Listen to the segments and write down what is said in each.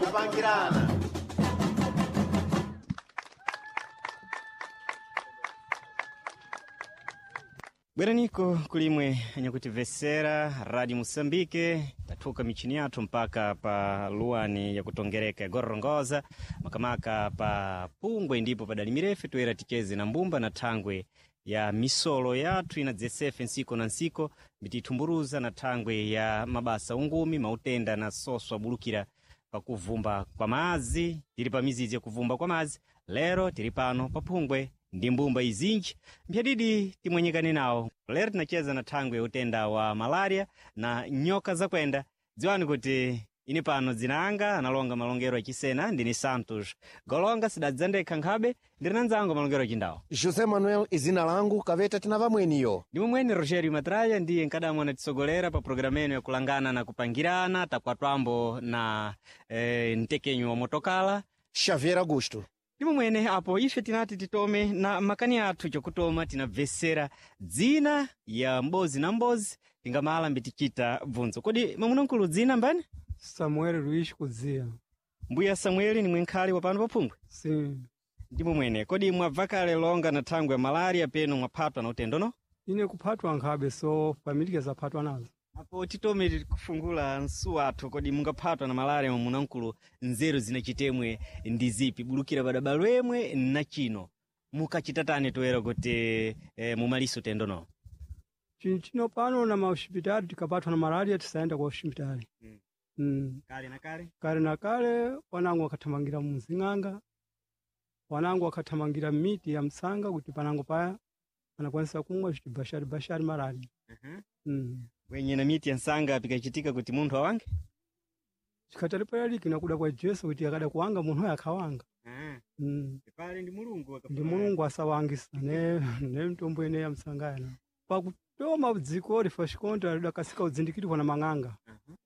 Kupangirana. Bweraniko kulimwe anyakutivesera Radio Moçambique, tathuka michini yathu mpaka pa luwani yakutongereka ya Gorongosa, makamaka pa Pungwe ndipo padali mirefu toyera ticheze na mbumba na thangwe ya misolo yathu inadzesefe nsiko na nsiko mbitithumburuza na thangwe ya mabasa ungumi mautenda na soso abulukira pakuvumba kwa madzi. Tili pa mizizi ya kuvumba kwa madzi lero tili pano pa Phungwe ndi mbumba izinji mphyadidi timwenyekane nawo. Lero tinacheza na thangwe ya utenda wa malaria na nyoka zakwenda. Dziwani kuti ine pano dzina anga analonga malongero achisena ndini Santos Golonga, sidadza ndekha nkhabe ndiri na nzangu malongero achindawo José Manuel izina langu kaveta tina vamweniyo. ndi momweni Rogério Matraya ndiye nkadamu anatitsogolera pa programu eno yakulangana na kupangirana takwatwambo na mtekenyo wa motokala Xavier Augusto. ndi momwene apo ife tinati titome na makani athu chokutoma tinabvesera dzina ya mbozi na mbozi tingamala mbitichita bvunzo. Kodi mwamunamkulu dzina mbani? Samuel Luiz Kuzia. Mbuya Samueli ni mwenkhali wa pano paphungwe. Sim. Ndi momwene kodi mwabva kale longa na thangwe ya malaria peno mwaphatwa na utendo no? Ine kuphatwa nkhabe so família zaphatwa nazo. Apo titome kufungula nsu athu, kodi mungaphatwa na malaria mwamunamkulu nzeru zinachitemwe ndi zipi? Bulukira padabalo emwe na chino mukachitatani toera kuti mumaliso utendo no? Chinthu pano na mahospitali tikapatwa na malaria tisayenda kwa hospitali. Mm. Mm. Kale na kale Kale na kale wanangu wakathamangira muzing'anga, wanangu wakathamangira miti ya msanga kuti panango paya anakwanisa kumwa zviti bashari bashari malaria. Mm. wenye na miti ya nsanga pikachitika kuti munthu awange Chikatali payaliki nakuda kwa Jesu kuti akada kuwanga munthu uyo akhawanga. Mm. pale ndi mulungu Ndi mulungu asawangisa ne mitombo ene ya msanga yana. Pakutoma dziko lifa lidakasika udzindikirwa na mang'anga.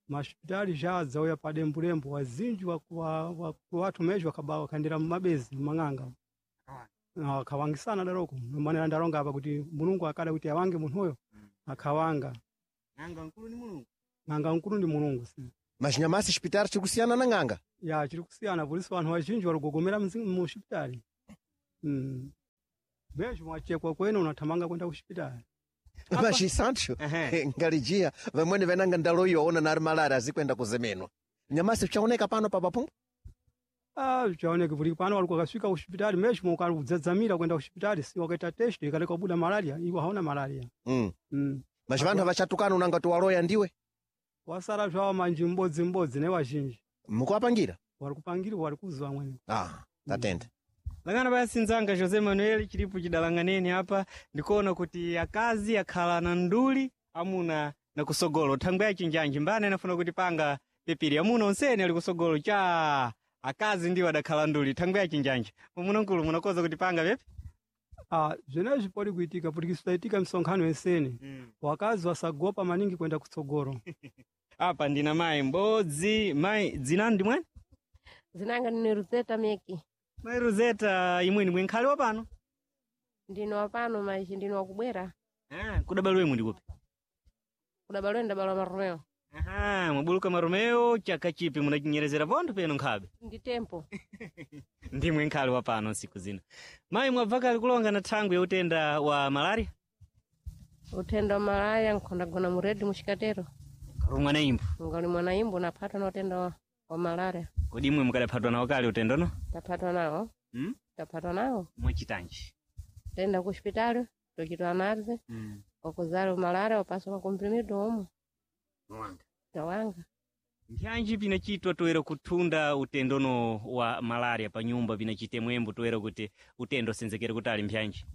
Masipitali zhadzauya padembulembu wazinji wathu mezho wakhandira mumabezi mumang'anga akhawangisana daroko nomanera ndalonga apa kuti mulungu akada kuti awange munthuyo akhawanga. Ng'anga mkulu ni mulungu. Ng'anga mkulu ndi mulungu si. Mas nyamasi xipitari chiri kusiyana na ng'anga. Ya chiri kusiyana polisi anthu azhinji waligogomera mu xipitali. Mezho mwachekwa kwene unathamanga kwenda ku xipitali. Mas Santos Ehe. ngalijia vamweni venanga ndaloiyoona nari malaria azikwenda kuzemenwa. Nyamasi chaoneka pano pa paphungwe. Ah, chaoneka kuti pano walikuwa akasvika ku xipitali mezho mukaludzadzamira kwenda ku xipitali si wakaita test ikaleka kubuda malaria iwo hauna malaria. Mm. Mm. Mas vanthu avachatukana unanga tiwaloya ndiwe. Wasara zvawo manji m'bodzi m'bodzi ne wazhinji Mukuwapangira? wari kupangirwa wari kuzwa amweni. Ah, tatenda. Langana basi nzanga Jose Manuel chilipo chidalanganeni apa ndikuona kuti akazi akhala na nduli amuna na kusogolo thangwe ya chinjanji mbane anafuna kuti panga pepiri amuna onsene ali kusogolo cha akazi ndiwo adakhala nduli thangwe ya chinjanji mwamunamkulu munakoza kuti panga pepi. Ah, zvenezvi podi kuitika kuti kisaitika misonkhano yensene wakazi wasagopa maningi kwenda kutsogolo. Apa ndina mayi mbodzi. Mayi dzinani ndi mwani? Zinanga ndine Rosetta Meki. Mayi Rosetta imweni mwenkhali wa pano? Ndino wapano maisha ndino wakubwera. Ah, kudabalo imwe ndikupi? Kudabalwe ndabalwa Maromeo. Aha, mwabuluka Maromeo chaka chipi munachinyerezera pontho peno nkhabe. Ndi tempo. Ndimwe nkhali wa pano nsiku zino. Mayi mwabva kale kulonga na thangwi ya utenda wa malaria? Utenda wa malaria nkhondagona mu redi muchikatero. Kalumwa na imbo. Ngali mwana imbo naphatwa na utenda wa malaria. Kodi imwe mukadaphatwa nawo kale utendo no? Taphatwa nawo. Hmm? Taphatwa nawo. Mwachitanji. Tenda ku hospitali tochitwa analize. Wakuzala malaria wapaswa makomprimido omwe. Mwanga. Tawanga. Mpyanji pinachitwa toera kuthunda utendono wa malaria pa nyumba pinachitemwembo toera kuti utendo senzekere kutali mpyanji.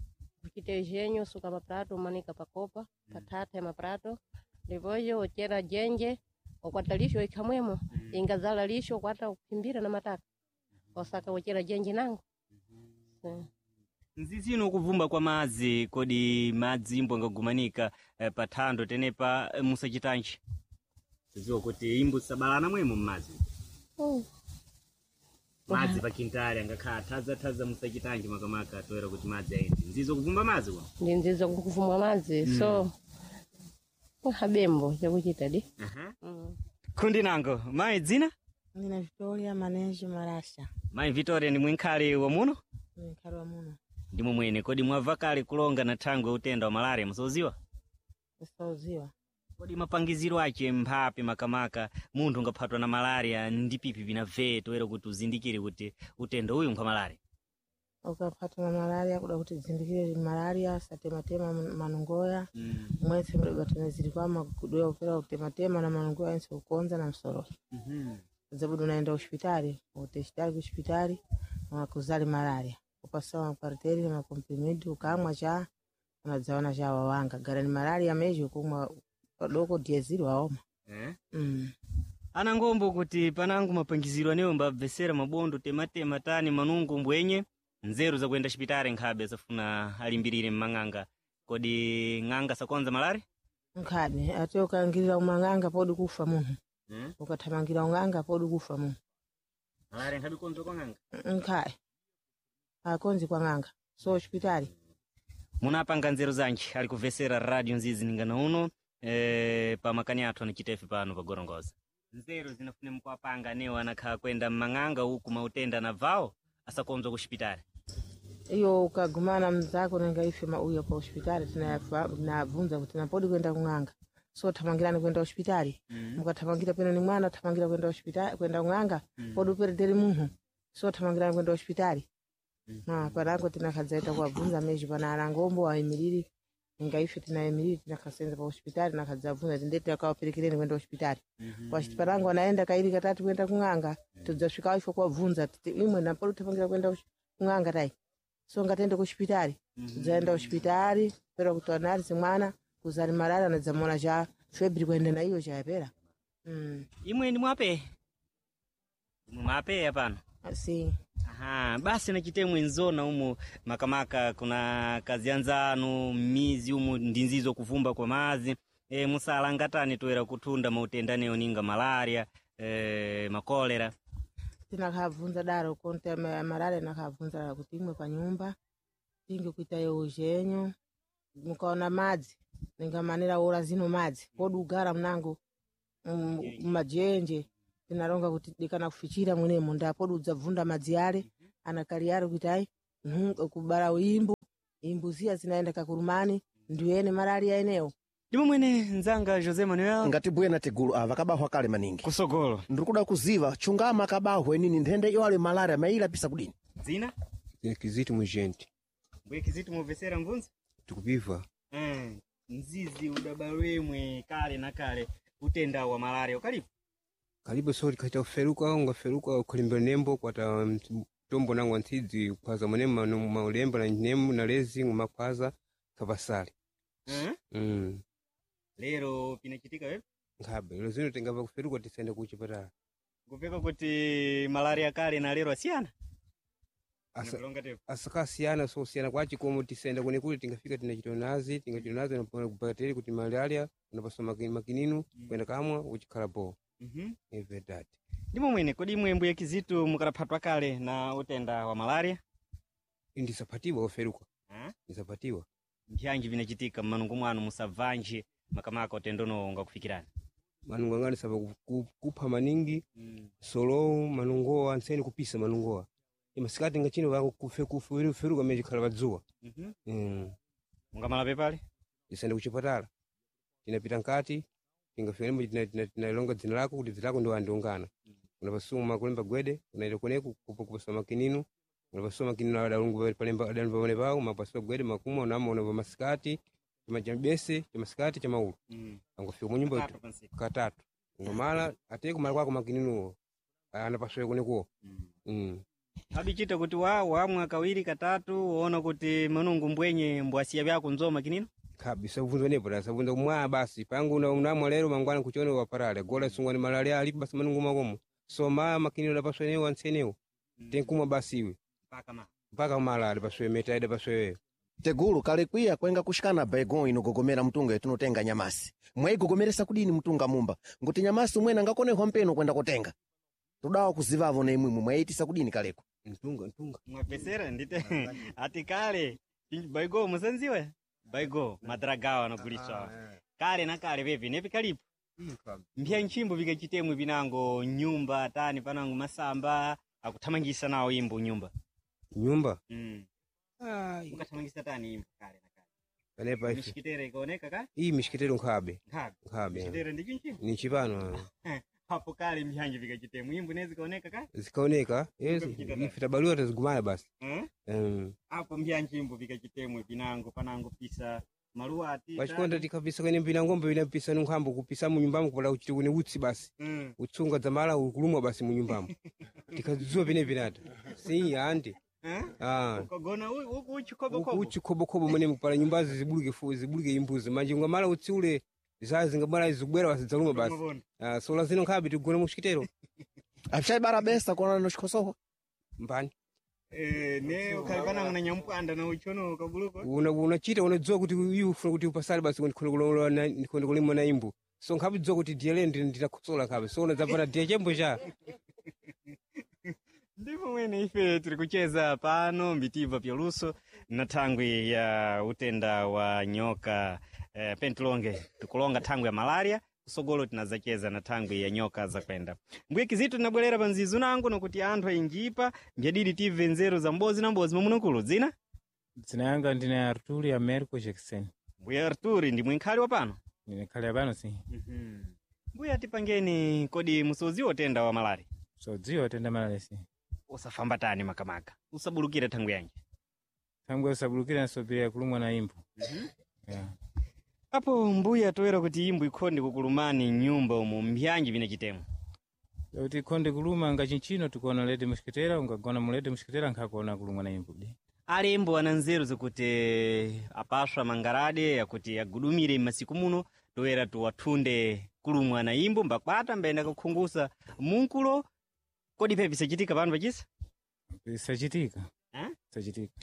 Kuchite jenyo suka maprato umanika pakopa pathatha ya maprato ndipoyo uchera jenje ukwata lisho ikhamwemo ingazala lisho ukwata kuphimbira na mataka osaka uchera jenje nango. Nzizino kuvumba kwa madzi kodi madzi imbo angagumanika pa thando tenepa musachitanji. Ziwa kuti imbo sabalana mwemo mmadzi. Madzi pa kintali angakhala thadza musachitanji makamaka toera kuti madzi aende. Nzizo kuvumba madzi kwa. Ndi nzizo kuvumba madzi so habembo chakuchita di. Kundi nango mayi dzina? Ndina Victoria Maneji Marasha. Mayi Victoria ndi mwinkhali wa muno? Mwinkhali wa muno. Ndimwe mwene kodi mwabva kale kulonga na thangwe utenda wa malaria musauziwa? Kusauziwa. Kodi mapangiziro ache mphapi makamaka munthu ungaphatwa na malaria ndi pipi vinabve toera kuti uzindikire kuti utenda uyu nkwa malaria? Ukaphatwa na malaria kuda kuti zindikire malaria satematema manungoya mwese mudabata zili kwa makudoya kupera kutematema na manungoya ense kukonza na msoro. Zabudu unaenda hospitali, uteshitali kuhospitali wakuzali malaria. Upasawa maparteri na makomprimidi ukamwa cha unadzaona cha wawanga gara ni malaria meji kumwa padoko diezili waoma. Eh? Mm. Ana ngombo kuti panangu mapangiziro anewo mbabvesera mabondo tematema tani manungo mbwenye nzeru zakuyenda xipitali nkhabe safuna alimbirire mmang'anga kodi ng'anga sakonza malaria? Nkhabe ate ukangirira umang'anga podi kufa munthu. Ukathamangira ung'anga podi kufa munthu. Malaria nkhabe konza kwa ng'anga? Nkhaye akonzi kwa ng'anga so hospitali. Munapanga nzeru zanji ali kuvesera radio nzizi ningana uno pa makani athu anachitefe pano pa Gorongosa. Nzeru zinafune mkuapanga anewo anakhala kwenda mmang'anga uku mautenda anabvawo asakonzwa ku xipitali. Iyo ukagumana mzako nenga ife mauya pa hospitali tinabvunza kuti napodi kwenda kung'anga so thamangirani kwenda hospitali. Mukathamangira peno ni mwana thamangira kwenda hospitali kwenda kung'anga podi uperederi munthu so thamangirani kwenda hospitali. Na panango tinakhadzaita kuwabvunza meji pana anangombo ayimiriri inga ife tinayimiriri tinakhasenza pa hospitali nakhadzabvunza tindeti akawaperekereni kwenda hospitali. Wachiti panango anaenda kairi katatu kwenda kung'anga tudzasvika ifo kuwabvunza titi imwe napodi kuthamangira kwenda kung'anga tai so ngatende kuhospitali. Tudzaenda hospitali pera kuti analize mwana kuzali malaria anadzamona cha febri kuenda na iyo chayapera. Imwe ndi mwape? Imwe mwapeya pano? Si. Aha, basi nachitemwe nzona umu makamaka kuna kazi anzanu mizi umu ndinzizo kuvumba kwa mazi musalangatani toera kuthunda mautenda anewo ninga malaria makolera. Tinakhabvunza daro konte malaria nakhabvunza daro kuti imwe pa nyumba tinge kuita eujenyo mukaona madzi ningamanira ora zino madzi kodi ugara mnango mumajenje tinaronga kuti dikana kufichira mwenemo ndapodi udzabvunda madzi ale anakali ale kuti ayi kubara imbu imbu ziya zinaenda kakurumani ndiyene malaria enewo. Ndimo mwene nzanga Jose Manuel Ngati bwena tigulu ava kabahwa kale maningi. kusogolo Ndikuda kuziva chungama kabahwe nini nthenda iyo ali malaria mayilapisa kudini. dzina Kiziti mujenti mbuye Kiziti mubvesera mvunzo tikupiva mzizi udabalwemwe kale na kale utenda wa malaria ukalipo kalipo so likaita kuferuka ungaferuka ukalimbira nembo kwata tombo nangu anthidzi kukhwaza mwene maulembo na nembo na lezi ngumakhwaza kapasale. Lero pinachitika wepo Nkhabe lero zino tingava kuferuka tisende kuchipatala kupeka kuti malaria kale na lero asiyana. Asakasiyana so siyana kwachi komo tisenda kune kuli tingafika tinachitonazi tingachitonazi napona kubateri kuti malaria unapaswa makininu kwenda kamwa uchikhala bo. Ive dati. Ndimo mwene kodi imwe mbuye Kizitu mukalaphatwa kale na utenda wa malaria? Ndisapatiwa kuferuka. Ndisapatiwa. Mpyanji vinachitika mmanungu mwanu musabvanji makamaka utenda uno ungakufikirani? Manungo angani saba kupha maningi solo manungowa anseni kupisa manungowa imasikati ngachino vako kufe kuferuka meji khala padzuwa. Mungamala pepale Tisende kuchipatala tinapita nkati tingafika nembo tinalonga dzina lako kuti dzina lako ndi wandiungana unapasuma kulemba gwede unaita kuneku kupasa makininu unapasuma makininu adalungu palemba adalemba pamene pawo mapasua gwede makumwa unama unapa masikati chamabese chamasikati chamaulu angafika munyumba katatu ngomala ate kumala kwako makininuwo anapasua kunekuwo. Abichita kuti wa wamwa kawiri katatu woona kuti manungu mbwenye mbwasiya vyako nzoma kinino Kabisa sabvunza nepo tasabvunza kumwa basi pangu unamwa lero mangwana kuchione waparale gola sungwani malaria alipo basi manungu makomo so ma makinino adapaswa enewo antsenewo tenkumwa basi iwe mpaka mala adapaswe meta adapaswe. Tegulu kale kwiya kwenga kushikana baigon inogogomera mtunga yatinotenga nyamasi. Mwayigogomeresa kudini mtunga mumba nguti nyamasi umwene angakonehwa mpeno kwenda kotenga. Tudawa kuzivavo na imwimwe mwayitisa kudini kaleko. Mtunga mtunga mwapesera ndite ati kale baigo musanziwe baigo madragawa anagulitswa kale na kale pepi nepi kalipo. Mpya nchimbo vikachitemwe vinango nyumba tani panango masamba akuthamangisa nawo imbo nyumba. Nyumba. Mukathamangisa tani imbo kale na kale. Panepa ife. Mishikitere ikaoneka ka? Iyi mishikitero nkhabe. Nkhabe. Nkhabe. Mishikitere ndi chinchimbo. Ni chipano. Apo kale mphyanji vikachitemwe imbo nezikaoneka ka? Zikaoneka, yes, ife tabaluwa tazigumana basi. Apo mbyanjimbo vikachitemwe vinango panango pisa maluwa ati. Pachikonda tikapisa kwene mbina ngombe vinapisa nunkhambo kupisa mu nyumbamo kupala kuchiti kune utsi basi. Utsunga dzamala ukulumwa basi mu nyumbamo. Tikadziwa pene pinata. Si andi. Ukagona uku uchikhobokobo. Uchikhobokobo mwene kupala nyumbazi zibuluke zibuluke imbuzi manje ngamala utsi ule zazi ngamala zikubwera basi dzaluma basi. Sola zino nkhabe tigona mushikitero. Apshaibara besa kuona nochikosowa. Mbani. Ne ukhalipana na nyampwanda na uchono ukabuluko. Unachita unadziwa kuti iyu ufuna kuti upasale basi ndikhonde kulima na imbu. So nkhabe dziwa kuti diye lende nditakhosola nkhabe. So unadzapata diye chembo cha. Ndipo mwene ife tiri kucheza pano mbitiva pyaluso na thangwi ya utenda wa nyoka pentilonge tikulonga thangwi ya malaria kusogolo tinazacheza na thangwi ya nyoka zakwenda. Mbuye kizito tinabwerera pa nzizu nango nokuti anthu ainjipa mbyadidi tive nzeru za mbozi na mbozi mamunukulu dzina Dzina yanga ndine Arturi Americo Jackson. Mbuye Arturi ndi mwinkhali wa pano? Ndine khali pano si. Mbuye atipangeni kodi musoziwa utenda wa malaria? Sodziwa utenda malaria si. Usafamba tani makamaka usabulukira thangwi yanji? Thangwi usabulukira nsopera kulumwa na imbu. Yeah. Apo mbuya toera kuti imbu ikhonde kukulumani nyumba umu mbyanji vina chitemo. Kuti ikhonde kuluma nga chinchino tikuona lete mushikitera ungagona mulete mushikitera nkhakuona kulumwa na imbu di. Alembo ana nzeru zakuti apaswa mangarade yakuti agudumire m'masiku muno toera tuwathunde kulumwa na imbu mbakwata mbayenda kukhungusa munkulo kodi phe pisachitika pano pachisa? Pisachitika. Pisachitika.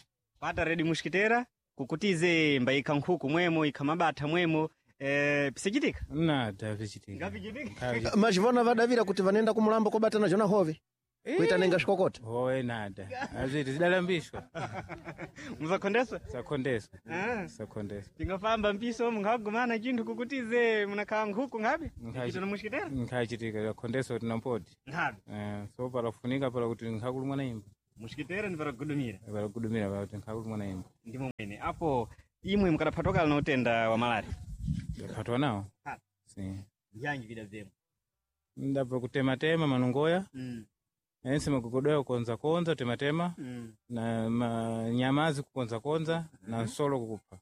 Pata redi mushikitera kukutize mbayikha nkhuku mwemo ikha mabatha mwemo pisachitika? Nada pisachitika. Ngapichitika. Machivona vadavira kuti vanenda kumulambo kobatana jona hove. Kuita nenga xikokota. Howe nada. Aziti zidalambishwa. Muzakhondeswa? Sakhondeswa. Sakhondeswa. Tingafamba mpiso munkhagumana chinthu kukutize munakhala nkhuku nkhabe? Chitona mushikitera? Nkhachitika zakhondeswa kuti nampoti. Nkhabe. So palafunika pala kuti nkhakulumwa na imbu. Mushikitera ndi palakugudumira. Palakugudumira pala kuti nkhakulumwa na imbu. Ndimo mwene. Apo imwe mukadaphatwakala na utenda wa malaria? Ndaphatwa nawo. Si. Mbyanji vidabvemo. Ndabva kutematema manungoya. Ense magogodoya kukonzakonza tematema. Na nyamazi kukonzakonza na nsolo kukupha.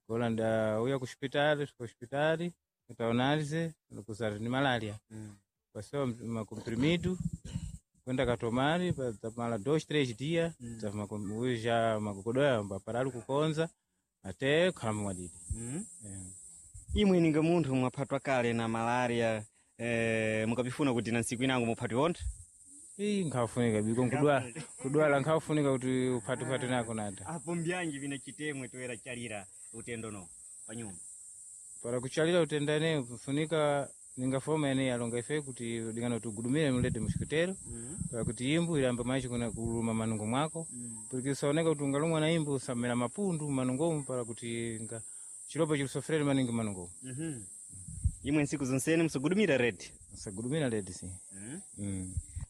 Kola ndauya kuxipitali, fika kuxipitali, kutaonalize kuzati ni malaria. Pasewa makomprimido kwenda katomari mala 2 3 dia uja magogodoya mbaparali kukonza ate khalamba mwadidi. Imwe ninga munthu mwaphatwa kale na malaria mukapifuna kuti na ntsiku inango muphatwe wonthu? Ii nkhafunika biko nkudwala kudwala nkhafunika kuti uphatuphatwe nako nada. Apo mbyanji vina chitemwe toera chalira utendo no pa nyumba. Para kuchalira utenda ene kufunika ninga foma ene yalonga ife kuti dingano tugudumire mulete mushikitero. Para kuti imbu ilamba machi kuna kuluma manungo mwako. Porque usaoneka kuti ungalumwa na imbu usamera mapundu manungomu para kuti nga chilopo chilusofrere maningi manungomu. Imwe ntsiku zonsene musagudumira redi. Musagudumira redi si.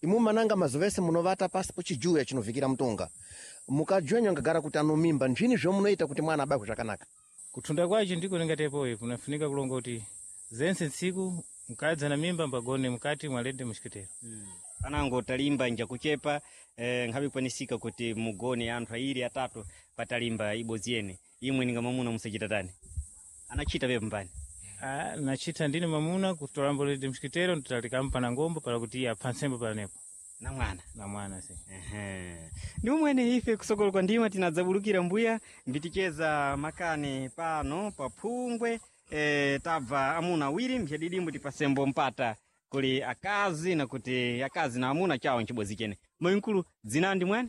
Imu mananga mazovese munovata pasi pochijuya chinovikira mtunga. Mukajwenya ngagara kuti anomimba nzvini zvomunoita kuti mwana abakwe zvakanaka. Kuthunda kwacho ndiko ningatepoyo kunafunika kulonga kuti zense ntsiku mukadzi ana mimba mbagone mukati mwalete mushikitero. Panango talimba njakuchepa nkhabe kwanisika kuti mugone anthu airi atatu patalimba ibodzi yene. Imwe ninga mwamuna musachita tani. Anachita pepo mbani. Nachita ndine mamuna kutolambo lete mshikitero nditalikampa na ngombo pala kuti iye aphansembo palanepo. Na mwana. Na mwana si. Ndi umwene ife kusokolo kwa ndima tinadzabulukira mbuya mbiticheza makani pano pa phungwe tabva amuna awiri mbyadidimbo tipasembo mpata kuli akazi na kuti akazi na amuna chawo nchibodzi chene. Mayinkulu dzina ndi mwene?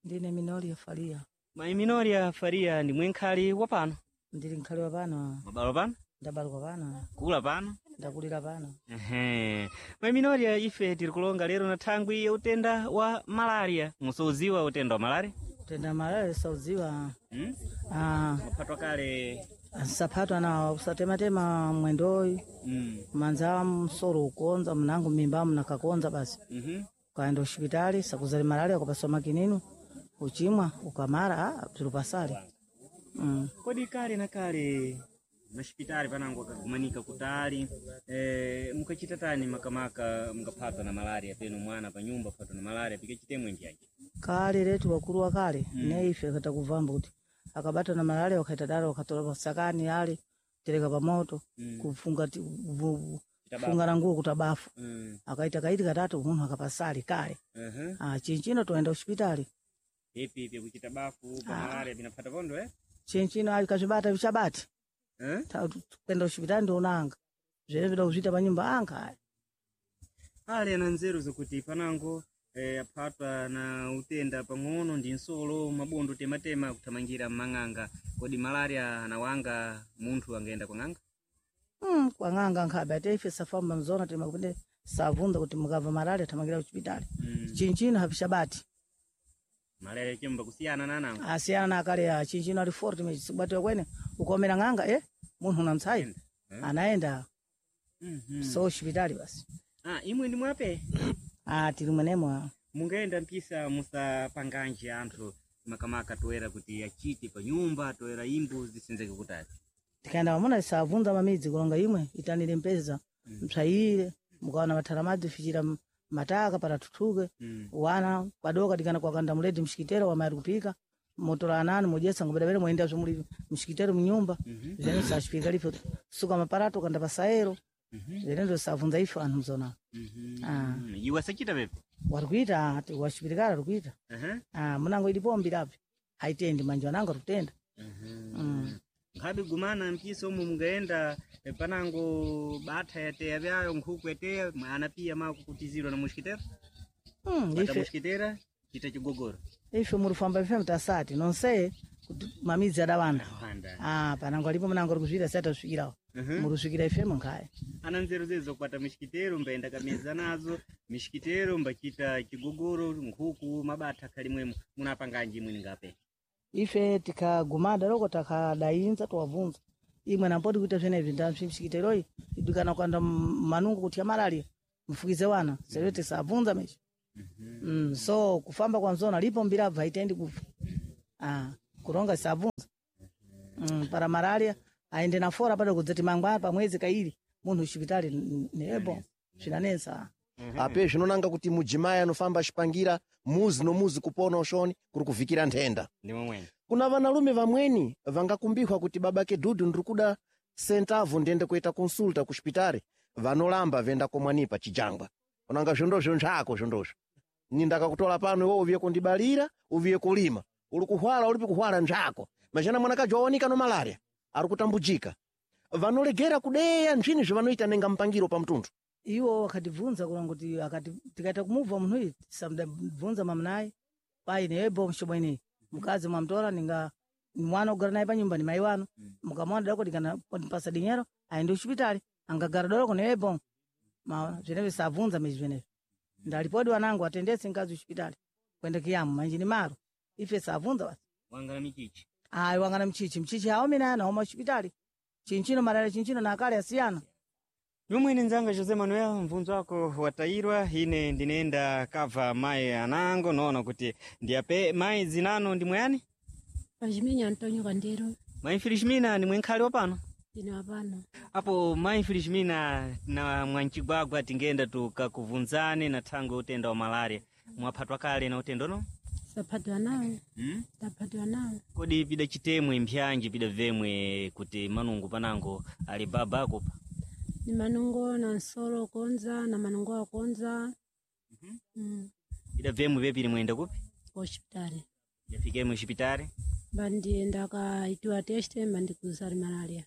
Ndine Minoria Faria. Mayi Minoria Faria ndi mwenkhali wa pano? Ndili nkhali wa pano. Mabalo pano? Ndabalwa pano. Kula pano? Ndakulira pano. Mayi Minoria ife tiri kulonga lero na thangwi ya utenda wa malaria. Musauziwa utenda wa malaria? Utenda wa malaria sauziwa. Maphatwa kale Ansaphatwa na usatematema mwendoyi manza msoro ukonza mnangu mimba mnakakonza basi ukaenda hospitali sakuzali malaria ukapaswa makininu uchimwa ukamara tulupasali Kodi kale na kale mashipitali panango akagumanika kutali mukachita tani makamaka mukaphatwa na malaria penu mwana pa nyumba phatwa na malaria pikachitemwe ndiyaji kale letu wakulu wa kale ne ife katakuvamba kuti akabata na malaria wakaita dala wakatola pasakani ale tereka pamoto kufunga funga na nguo kutabafu akaita kaiti katatu munthu akapasali kale chinchino toenda hospitali ipi ipi kuchita bafu pa malaria pinaphata pondo chinchino ali kazvibata vichabati kwenda hospitali ndionanga zvene vida kuzviita panyumba anga aya Ali ana nzeru zokuti panango aphatwa na utenda pang'ono ndi nsolo mabondo tematema kuthamangira mmang'anga. Kodi malaria anawanga munthu angaenda kwa ng'anga? Kwang'anga nkhabe ate ife safamba mzona timakupende savunda kuti mukava malaria thamangira kuchipitali chinchino havishabati Malaria chemba kusiyana na anango asiyana na akale a chinchino ali forti mechisibatiwa kwene ukomera ng'anga munthu unamtsayi anaenda so hospitali basi. Imwe ndi mwape Tili mwenemo. Mungaenda mpisa musapanganji anthu makamaka toera kuti achite pa nyumba toera imbu zisenzeke kutali. Tikaenda pamuna tisavunza mamidzi kulonga imwe itanire mpeza mpsayire mukaona mathara madzi fichira mataka patathuthuke wana kwadoka tikana kwakanda muledi mshikitero wamayari kupika motola anani mudyesa ngobedabere mwendazvo muli mshikitero mnyumba zvene sachipika lipo suka maparato kanda pasaero zvene ndosavunza ife anthu mzona. Iwe asachita pepe Wari kuita washipitikala ari kuita. Munango ilipo mbirapo haitendi manje wanango arikutenda. Nkhabe gumana mpisa omwe mungaenda panango batha yateya vyayo nkhuku yateya ana piya makukutizirwa na muxikitera bata Ife muxikitera chita chigogoro. Ife murifamba ife mutasati nonse kuti mamidzi adawanda. Wanda. Panango alipo munango arikuzviita sati atasvikirawo murusvikira ifemo nkhaya. Ana nzeru zezo zokukwata mixikitero mbaenda kameza nazo mixikitero mbachita chigogoro nkhuku mabatha khalimwemo munapanganji imweni ngape. Ife tikagumada loko takadainza towabvunza imwe nampoti kuita zvenezvi ndamshikiteroyi idikana kuanda manungo kuti ya malaria mfukize wana sero tisabvunza mechi so kufamba kwa mzona lipo mbirabva haitendi kufa kuronga tisabvunza para malaria aende na fora pado kudzati mangwana pamwezi kaili munthu uxipitali nebo zvinanesa. Ape zvinonanga kuti mujimayi anofamba achipangira muzi nomuzi kupona ushoni kuri kuvikira nthenda. Ndi momwene. Kuna vanalume vamweni vangakumbihwa kuti babake dudu ndiri kuda sentavu ndiende kuita konsulta ku xipitari vanolamba venda komwanipa chijangwa unanga zvondozvo nzvako zvondozvo nindakakutola pano iwe uviye kundibalira uviye kulima uli kuhwala ulipi kuhwala nzvako majana mwanakaji waonika no malaria ari kutambujika vanolegera kudeya nzvini zvavanoita nenga mpangiro pa mtunthu. Iwo akatibvunza kulonga kuti akati tikaita kumubva munhu uyu tisamubvunza mamunayi pai nebo mshobo ineyi mkazi mwamtora ninga mwana ugara naye panyumba ni mai wanu mukamwana dako tikana pasa dinyero aende kuchipitali angagara doloko nebo maona zvenezvi sabvunza mezi zvenezvi ndalipodi wanangu atendese mkazi kuchipitali kwenda kiyamu manje ni maro ife sabvunza basi. Wangana michichi. Ayi wangana mchichi mchichi haomina naoma kuchipitali chinchino malaria chinchino na akale asiyana. Yomwene nzanga Jose Manuel mvunzo wako watairwa ine ndinenda kava mai anango noona kuti ndiyape mai zinano ndi mwayani. Pachiminya Antonio Kandero. Mai Felizmina ni mwenkhali wapano. Ndine wapano. Apo mai Felizmina na mwanchigwagwa tingenda tukakuvunzane na thangwe utenda wa malaria mwaphatwa kale na utendo no Saphatwa nawo. Taphatwa nawo. Kodi pida chitemwe mpyanji pida vemwe kuti manungu panango ali baba akupa? Ni manungo na nsolo konza na manungo akonza. Pida vemwe vepili mwenda kupi? Hospitali. Yafike muxipitali. Bandienda kaitiwa teste bandikuzari malaria.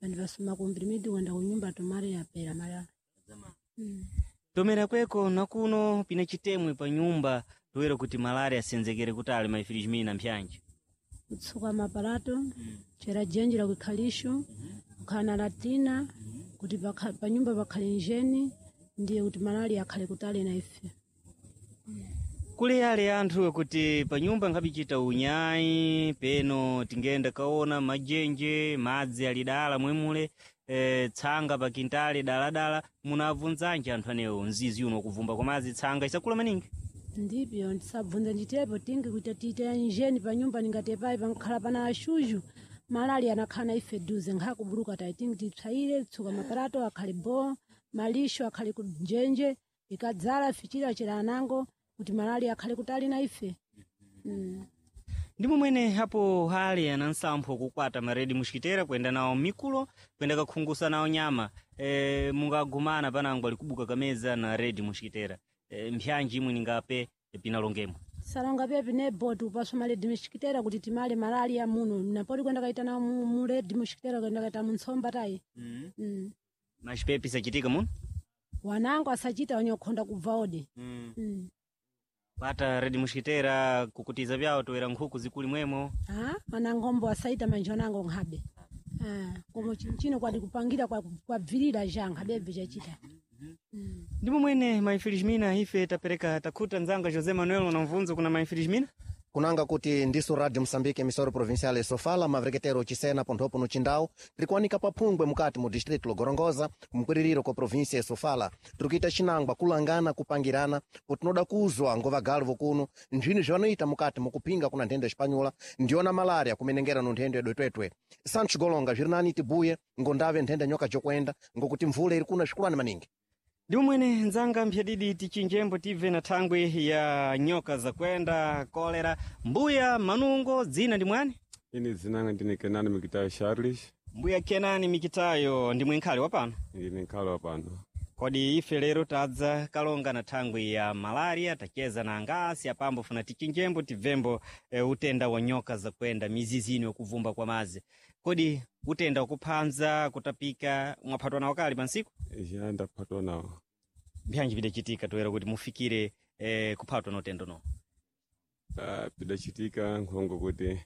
Bandivasoma kumprimidi kwenda kunyumba tomare yapera malaria. Tomera kweko nakuno pina chitemwe pa nyumba toera kuti malaria asenzekere kutali mai Felizmina mpyanji. Kutsuka mapalato, chera jenji la kuikhalisho, kukhala na latina, kuti panyumba pakhale njeni, ndiye kuti malaria akhale kutali na ife. Kuli ale anthu kuti panyumba nkhabichita unyayi peno tingenda kaona majenje madzi ali dala mwemule tsanga pa kintale daladala munabvunzanji anthu anewo mzizi uno kuvumba kwa madzi tsanga isakula maningi Ndipyo ndisabvunza nditepo tingi kuti tiite njeni pa nyumba ningatepayi pankhala pana axuxu malali anakhala na ife duze nkhakubuluka tayi tingi tipsayire tsuka maparato akhale bo malixo akhale kunjenje ikadzala fichira chera anango kuti malali akhale kutali na ife. Ndi momwene apo hali ana nsampho kukwata maredi muxikitera kuyenda nawo mikulo kuyenda kakhungusa nawo nyama mungagumana panango ali kubuka kameza na redi muxikitera mphyanji imwe ningape pinalongemo Salonga pepi ne boti upaswa maledi mixikitera kuti timale malali ya muno napoti kwenda kaita nawo muledi muxikitera kwenda kaita muntsomba tayi. Maxipepi sachitika muno Wanango asachita wanyokhonda kubva odi. Pata redi muxikitera kukutiza vyawo toera nkhuku zikuli mwemo. Ah, manangombo asaita manje wanango nkhabe. Ah, komo chinchino kwadi kupangira kwa kwabvirira ja nkhabebve chachita. Ndi momwene maifelizmina ife tapereka takhuta nzanga José Manuel una mvunzo kuna maifelizmina Kunanga kuti ndiso Radio Moçambique emissora provincial e Sofala mavereketero chisena ponthopo no Chindau tirikuwanika paphungwe mukati mu distrito Gorongosa kumkwiririro kwa província ya Sofala tirikuita chinangwa kulangana kupangirana kuti tinoda kuzwa ngo vagalu vokuno nthwini zvanoita mukati mukuphinga kuna nthenda ya ndiyona malaria kumenengera no nthenda ya dwetwetwe Santos Golonga zviri nani tibuye ngondave nthenda nyoka jokwenda ngokuti mvula iri kuna svikulani maningi. Ndi momwene nzanga mphyadidi tichinjembo tibve na thangwi ya nyoka zakwenda kolera mbuya manungo dzina ndi mwani? Ini dzinanga ndine Kenani Mikitayo Charles. Mbuya Kenani Mikitayo ndimwe nkhale wapano? Ndine nkhale wapano. Kodi ife lero tadza kalonga na thangwi ya malaria tacheza na angasi apambo funa tichinjembo tibvembo utenda wa nyoka zakwenda mizizi ino yakuvumba kwa mazi. Kodi utenda wakuphanza kutapika mwaphatwa nawo kali pansiku? Ya ndaphatwa nawo. Mbyanji vidachitika toera kuti mufikire kuphatwa na utendo no? Pidachitika nkhongo kuti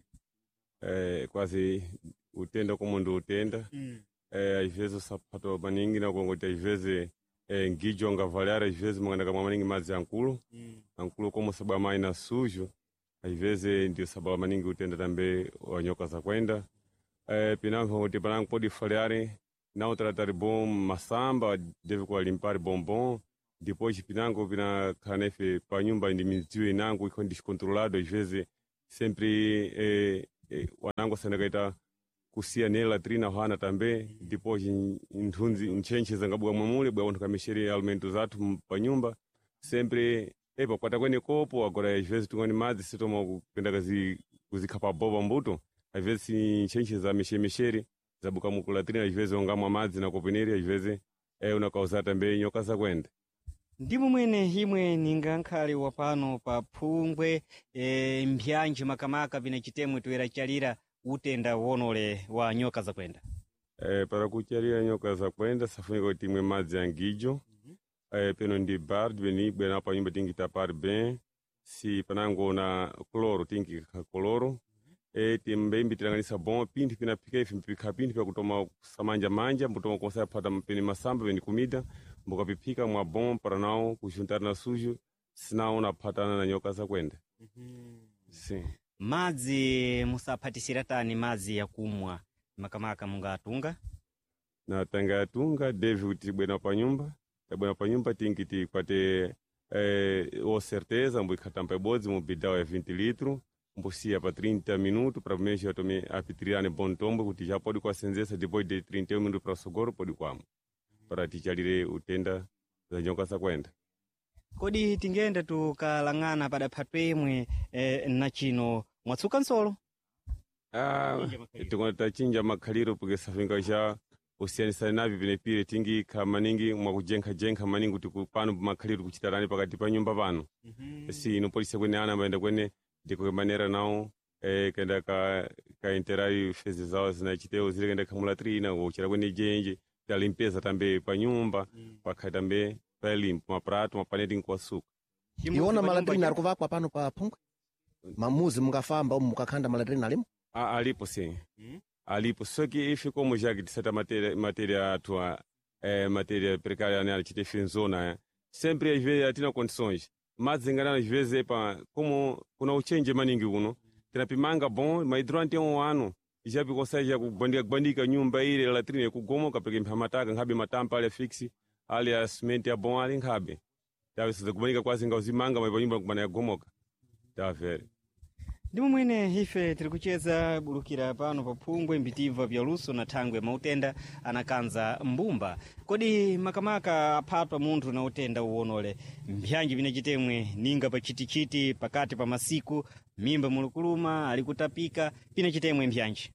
kwazi utenda komo ndi utenda. Às usaphatwa maningi nakongoti às vezes ngijo angavaliar às vezes manganda kamwa maningi madzi ankulu. Ankulu como sabwa mai na sujo às vezes ndio sabwa maningi utenda tambe wa nyoka zakwenda. Pinango kuti panango pode falhar não tratar bom masamba deve kulimpar bombom depois pinango pina kanefe pa nyumba ndi midziyo inango iko descontrolado às vezes sempre wanango sandakaita kusiya ne latrina hwana tambe depois nthunzi ntchentche zangabuka mwamule bwa anthu kamexere alimento zathu pa nyumba sempre epa kwata kwene kopo agora às vezes tungani madzi sitoma kupenda kuzikhapa boba mbuto às vezes ntchentche za mexemexere zabuka mu latrina às vezes ongamwa madzi na kopeneri às vezes unakauza tambe nyoka zakwenda. Ndi momwene imwe ninga nkhale wapano pa phungwe mbyanji makamaka pina chitemwe toera chalira utenda wonole wa nyoka zakwenda. Para kuchalira nyoka zakwenda safunika kuti imwe madzi angijo. Peno ndi bar beni bwena pa nyumba tingi tapar bem si panango na cloro tingi ka cloro timbembi tilanganisa bom pinthu pinaphika ife mpikha pinthu pyakutoma kusamanja manja mbutoma kosa phata peni masamba peni kumida mbukapiphika mwa bom para nawo kujuntana na sujo sinawo naphatana na nyoka zakwenda. Sim. Madzi musaphatisira tani madzi yakumwa makamaka mungatunga? Na tanga yatunga deve kuti bwena pa nyumba tabwena pa nyumba tingi tikwate o certeza mbuikhatampa ibodzi mu bidau ya 20 litro mbusiya pa 30 minutos para mesmo atome apitirane bom tombo kuti já pode kuasenzesa depois de 31 minutos para sogoro pode kwamo para tichalire utenda za nyoka zakwenda. Kodi tingenda tukalang'ana padaphatwa imwe na chino mwatsuka nsolo? Tikona tachinja makhaliro porque safinga já usiyanisana navyo pinepire tingikha maningi mwakujenkhajenkha maningi kuti pano makhaliro kuchitarani pakati pa nyumba pano. Si inopolisa kwene ana ambayenda kwene ndiko manera nawo kenda ka interai fezi zawo zinachitewo zile kenda khamulatrina kuchera kwene jenje talimpeza tambe pa nyumba pakha tambe palimpo maprato mapaneti nkuwasuka. Iwona malatrina ari kuvakwa pano pa phungwe mamuzi mungafamba umu mukakhanda malatrina alimo? Alipo sim. Alipo só que ife como já que de certa matéria matéria atua matéria precária né achite zona sempre às vezes atina condições. Madzi nganano chiveze pa como kuna uchenje maningi kuno tinapimanga bon mahidrante on ano ichapi kosaija kugwandika gwandika nyumba ile latrine kugomoka peke mphamataka nkhabe matampa ali afixi ali a cement ya bon ali nkhabe tawesiza kubanika kwasi ngauzimanga maipa nyumba kubana yagomoka tavere. Ndimo mwene ife tiri kucheza bulukira pano pa phungwe mbitiva vya luso na thangwe mautenda anakanza mbumba. Kodi makamaka aphatwa munthu na utenda uwonole mbyanji vinachitemwe ninga pa chitichiti pakati pa masiku mimba mulukuluma ali kutapika pinachitemwe mbyanji?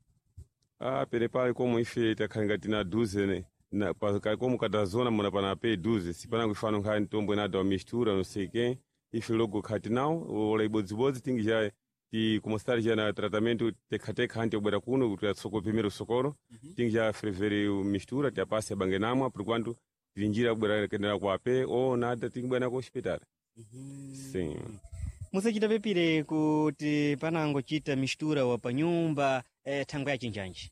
Ah, pere pale como ife takhalinga tina duze ne na pa komo katazona muna pana pe duze sipana kuifano nkhani ntombo inada wa mistura não sei quem ife logo khati nawo ola ibodzibodzi tingi ja ti kumostari ja na tratamento tekhateka anti obwera kuno kuti atsoko primeiro socorro tingi ja frevere mistura ti apase abange namwa por quanto tili njira kubwera kendera kwa pe o nada tingi bwera ku hospital. Sim. Musachita pepire kuti panangochita mistura wa panyumba thangwe yachinjanji?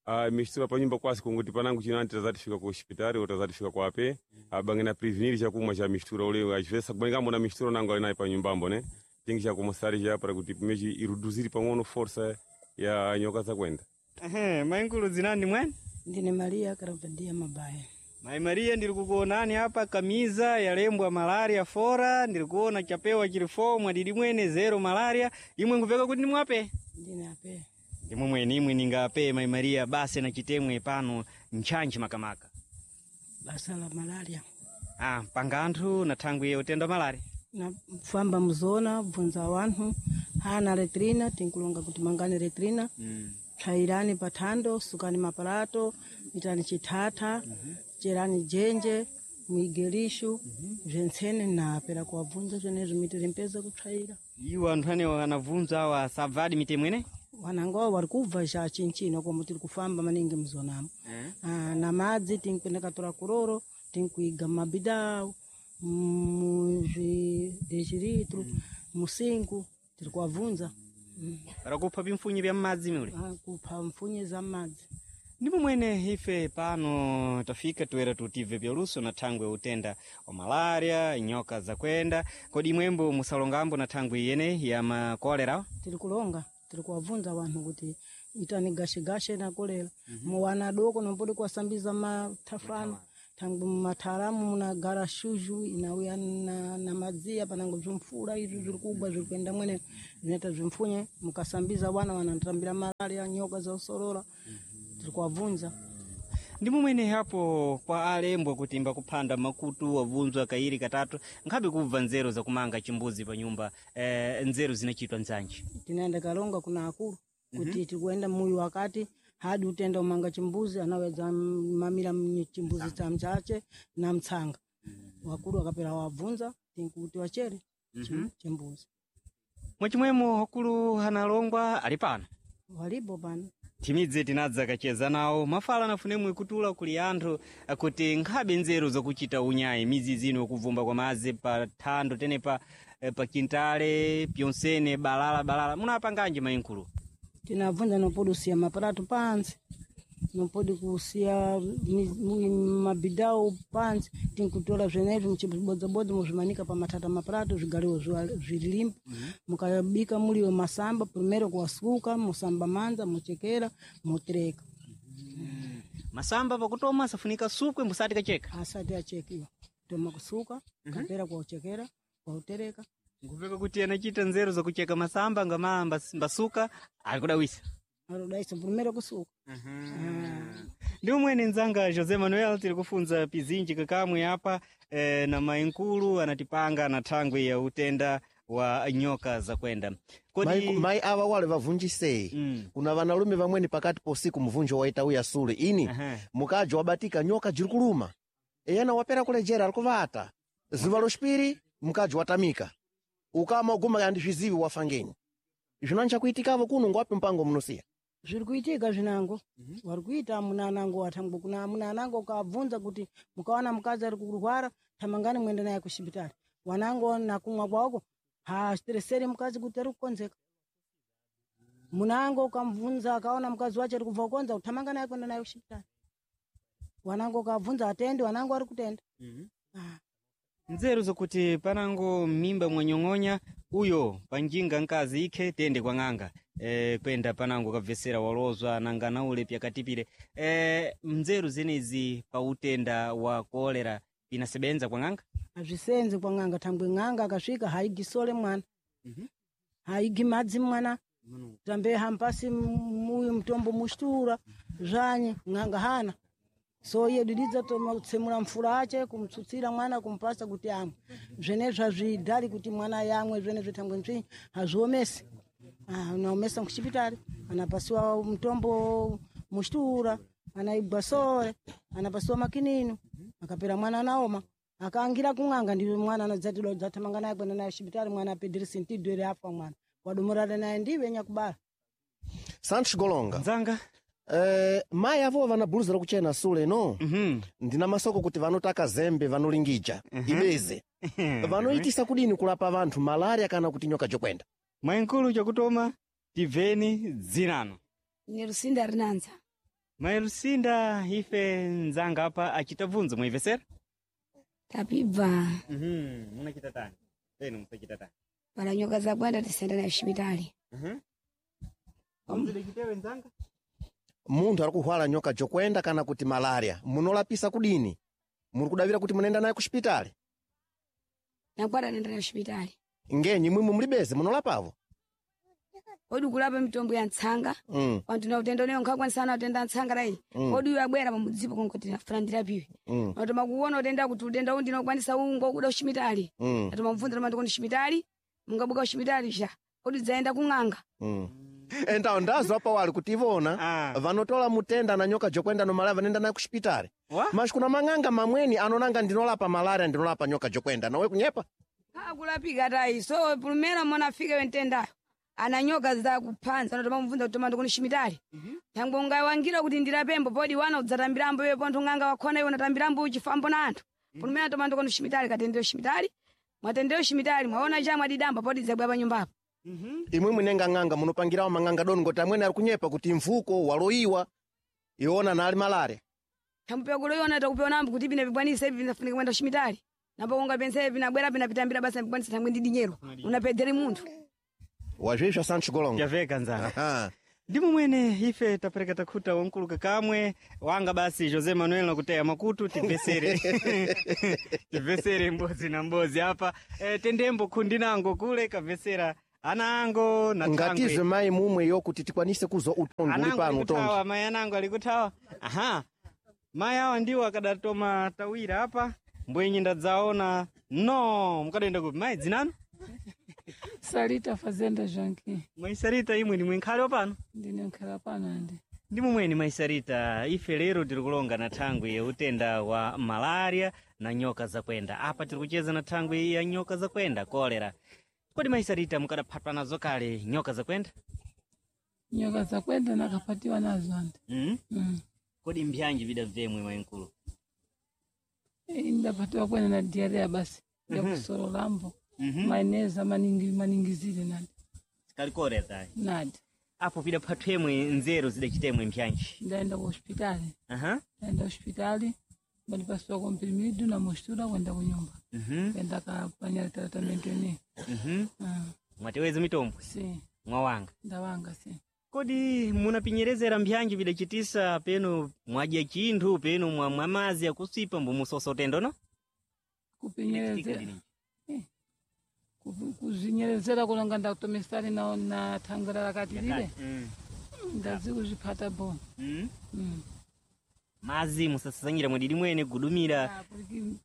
Ah, mistura pa nyumba kwasi kunguti panangu chino anti tazatifika ku hospitali ou tazatifika kwa pe abange na prevenir chakumwa cha mistura ule achivesa kubanika na mistura nango ali naye pa nyumbambo ne tingi cha kumosari cha para kuti mechi iruduziri pang'ono força ya nyoka zakwenda. Ehe, maingulu zinani mwene? Ndine Maria Karavadia Mabaya. Mai Maria, ndiri kukuonani apa kamiza yalembwa malaria fora, ndiri kuona chapewa chili 4 mwadidi mwene zero malaria, imwe nkupeka kuti ndimwape? Ndine ape. Ndimwe mwene imwe ningape Mai Maria basi na chitemwe pano ntchantchi makamaka. Basa la malaria. Ah, panga anthu na thangwi ya utenda wa malaria. Na famba muzona bvunza wanthu hana letrina tinkulonga kuti mangani letrina psayirani pathando sukani mapalato itani chithatha cherani jenje muige lishu bzentsene napera kuwabvunza zvenezvo mitiri mpeza kupsayira. Iwo anthu anewo anabvunza awa sabvadi mitemwe ine? Wanangowo wari kubva cha chinchino komo tiri kufamba maningi muzonamo. Ah, na madzi tinkwenda katora kuroro tinkuiga mumabidau muzvideshiritru musingu tiri kuwabvunza. Para kupha pimfunyi vya m'madzi mule? Ah, kupha mfunyi za m'madzi. Ndipo mwene ife pano tafika toera tutive byaluso na thangwe utenda wa malaria nyoka zakwenda. Kodi imwembo musalongambo na thangwe iyene ya makolera? Tiri kulonga tiri kuwabvunza wanthu kuti itani gashegashe na kolera muwana adoko nompoti kuwasambiza mathafano thangwe mumatharamu munagara shuzhu inauya na madziya panango bzimfula izvi zviri kugwa zviri kuenda mwene zvinoita zvimfunye mukasambiza wana wanatambira malaria nyoka zosorora tiri kuwabvunza. Ndimo mwene hapo kwa alembwa kuti mbakuphanda makutu wabvunzwa kairi katatu nkhabe kubva nzeru zakumanga chimbuzi pa nyumba nzeru zinachitwa nzanji? Tinaenda kalonga kuna akulu kuti tikuenda muyu wakati hadi utenda umanga chimbuzi anaweza mamira chimbuzi cha mchache na mtsanga. Wakulu wakapera wabvunza tinkuti wachere chimbuzi. Mwachimwemo wakulu analongwa ali pano? Walipo pano. Timidze tinadza kacheza nawo mafala nafunemwe kutula kuli anthu kuti nkhabe nzeru zakuchita unyayi mizizi ino kuvumba kwa madzi pa thando tenepa pa kintale pyonsene balala balala munapanganji mayinkulu? Tinabvunza nopodi kusiya mapalato pansi nopodi kusiya mabidau pansi tinkutola zvenezvi muchibodzabodza muzvimanika pamatata mapalato zvigariwo zvilimpo. Mukabika muliwo masamba primero kuwasuka musamba manza muchekera mutereka. Masamba pakutoma asafunika sukwe musati kacheka? Asati achekiwa toma kusuka kapera kuwachekera kuwautereka. Nkupeka kuti anachita nzeru zakucheka masamba ngama mbasuka alikudawisa. Arudaisa primero kusuka. Ndi umwene nzanga José Manuel tiri kufunza pizinji kakamwe apa na mainkulu anatipanga na thangwi ya utenda wa nyoka zakwenda. Kodi Mai awa wale vavunjisei kuna vanalume vamweni pakati posiku mvunjo waita uya sule ini mukaji wabatika nyoka jiri kuluma eyana wapera kulejera ali kuvata zuva loxipiri mukaji watamika ukama uguma andizvizivi wafangenyi zvinancha kuitikavo kuno ngwapi mpango munosiya? Zviri kuitika zvinango wari kuita munanango athangwe kuna munanango ukabvunza kuti mukawana mukadzi ari kurwara thamangani muende naye kuchipitali wanango nakumwa kwako haasitereseri mukadzi kuti ari kukonzeka. Munango ukamubvunza akaona mukadzi wacho ari kubva kukonza uthamanga naye kuenda naye kuchipitali wanango ukabvunza atendi wanango ari kutenda. Nzeru zokuti panango mimba mwanyong'onya uyo panjinga nkazi ikhe tende kwa ng'anga kwenda panango kabvesera walozwa nanga naule pyakatipire nzeru zenezi pa utenda wa kolera pinasebenza kwa ng'anga. Azvisenzi kwa ng'anga thangwe ng'anga akasvika haigisole mwana, haigi madzi mwana, tambe hampasi muyu mtombo mushtura zvanye ng'anga hana so iye dididza tsemura mfura ache kumtsutsira mwana kumpasa kuti amwe zvenezvo azvidhali kuti mwana yamwe zvenezvo thangwe nzvinyi hazviomesi. Ah, unaomesa kuchipitali anapasiwa mtombo mushtura anaigwa sore anapasiwa makinino akapera mwana anaoma akaangira kung'anga ndiwe mwana anadzatidwa dzathamanga naye kwenda naye chipitali mwana apedhere sentidwere afa mwana wadomorana naye ndiwe nyakubala. Santos Golonga nzanga mayi avo vana buluzi lakuchena sule no. Ndina masoko kuti vanotaka zembe vanolingija ibeze vanoitisa kudini kulapa vanthu malaria kana kuti nyoka jokwenda. Mwayinkulu chakutoma tibveni dzinano. Ni Lusinda Rinanza. Mayi Lusinda ife nzanga apa achita bvunzo mwayimvesera. Tapibva. Munachita tani penu musachita tani Pala nyoka zakwenda tisenda nayo xipitali. Muzidechitewe nzanga. Munthu ari kuhwala nyoka jokwenda kana kuti malaria munolapisa kudini muri kudavira kuti munaenda naye kuxipitali? Nakwata nenda nayo xipitali. Ngenyi mwimwe mulibeze munolapavo? Odi kulapa mitombo ya ntsanga. Wantu na utenda uneyo nkhakwanisana utenda ntsanga rayi. Odi uyo abwera pamudzipo kongoti nafuna ndirapiwe. Natoma kuona utenda kuti utenda uwu ndinokwanisa ungo kuda kuxipitali. Natoma mubvunza toma ndikuti xipitali mungabuka kuxipitali xa odi dzaenda kung'anga. Entawo ndazwa pawali kuti ivona vanotola mutenda na nyoka jokwenda no malaria vanoenda naye kuxipitali mas kuna mang'anga mamweni anonanga ndinolapa malaria ndinolapa nyoka jokwenda nawe kunyepa. Akulapika tayi so pulumera mona afike wentendayo ana nyoka zakuphanza natoma mubvunza kuti toma ndikuti xipitali. Thangwe ungawangira kuti ndirapembo podi wana udzatambirambo iwe pontho ng'anga wakhona iwe unatambirambo uchifambo na anthu. Pulumera toma ndikuti xipitali katendero xipitali mwatendero xipitali mwaona cha mwadidamba podi dzabwa pa nyumbapo. Imwe munenga ng'anga munopangirawo mang'anga doni ngoti amwene ari kunyepa kuti mvuko waloyiwa iwona nali malaria. Thambupewa kuloyona takupewa nambo kuti pina pibwanisa ivi vinafunika kwenda kuxipitali nambo ungapensa ivi vinabwera pinapitambira basa pibwanisa thangwe ndi dinyero unapedzere munthu. Wazvizva Santos Golonga. Yaveka nzanga. Ndimo mwene ife tapereka takhuta wankuluka kamwe wanga basi Jose Manuel nakuteya makutu tibvesere tibvesere mbozi na mbozi apa tendembo khundi nango kule kabvesera ana ango na Ngatizwe mayi mumwe yo kuti tikwanise kuzwa utongi uli anango pano utongi. alikuthawa mayi anango alikuthawa aha mayi awa ndiwo akadatoma tawira apa mbwenyi ndadzaona no mukadaenda kupi mayi dzinano? Sarita Fazenda Janki. Mayi Sarita imwe ndimwe nkhale wapano. Ndine nkhala pano andi. Ndi mumweni mayi Sarita ife lero tiri kulonga na thangwi ya utenda wa malaria na nyoka zakwenda apa tiri kucheza na thangwi ya nyoka zakwenda kolera. Kodi mayi Sarita mukadaphatwa nazo kale nyoka zakwenda? Nyoka zakwenda nakapatiwa nazo andi. Kodi mbyanji vidabvemwe mayinkulu? Ndapatiwa kwene na diarrhea basi. Yakusololambo. Maeneza maningi maningizile nandi. Sikali kolera tayi. Nadi. Apo vidaphathwemwe nzeru zidachitemwe mbyanji. Ndaenda ku hospitali. Aha. Ndaenda hospitali. Bandipasiwa komprimido na mostura kwenda kunyumba. Kwenda kapanya tratamento ene. Mwateweza mitombo? Si. Mwawanga? Ndawanga si. Kodi munapinyerezera mbyanji vidachitisa penu mwadya chinthu penu mwamwa mazi akusipa mbumusosa utendo no? Kupinyerezera. Kuzvinyerezera kulonga ndakutomesari na thangwera rakati lile. Ndazi kuzviphata bo. Mazi musasazanyira mwididi mwene kugudumira.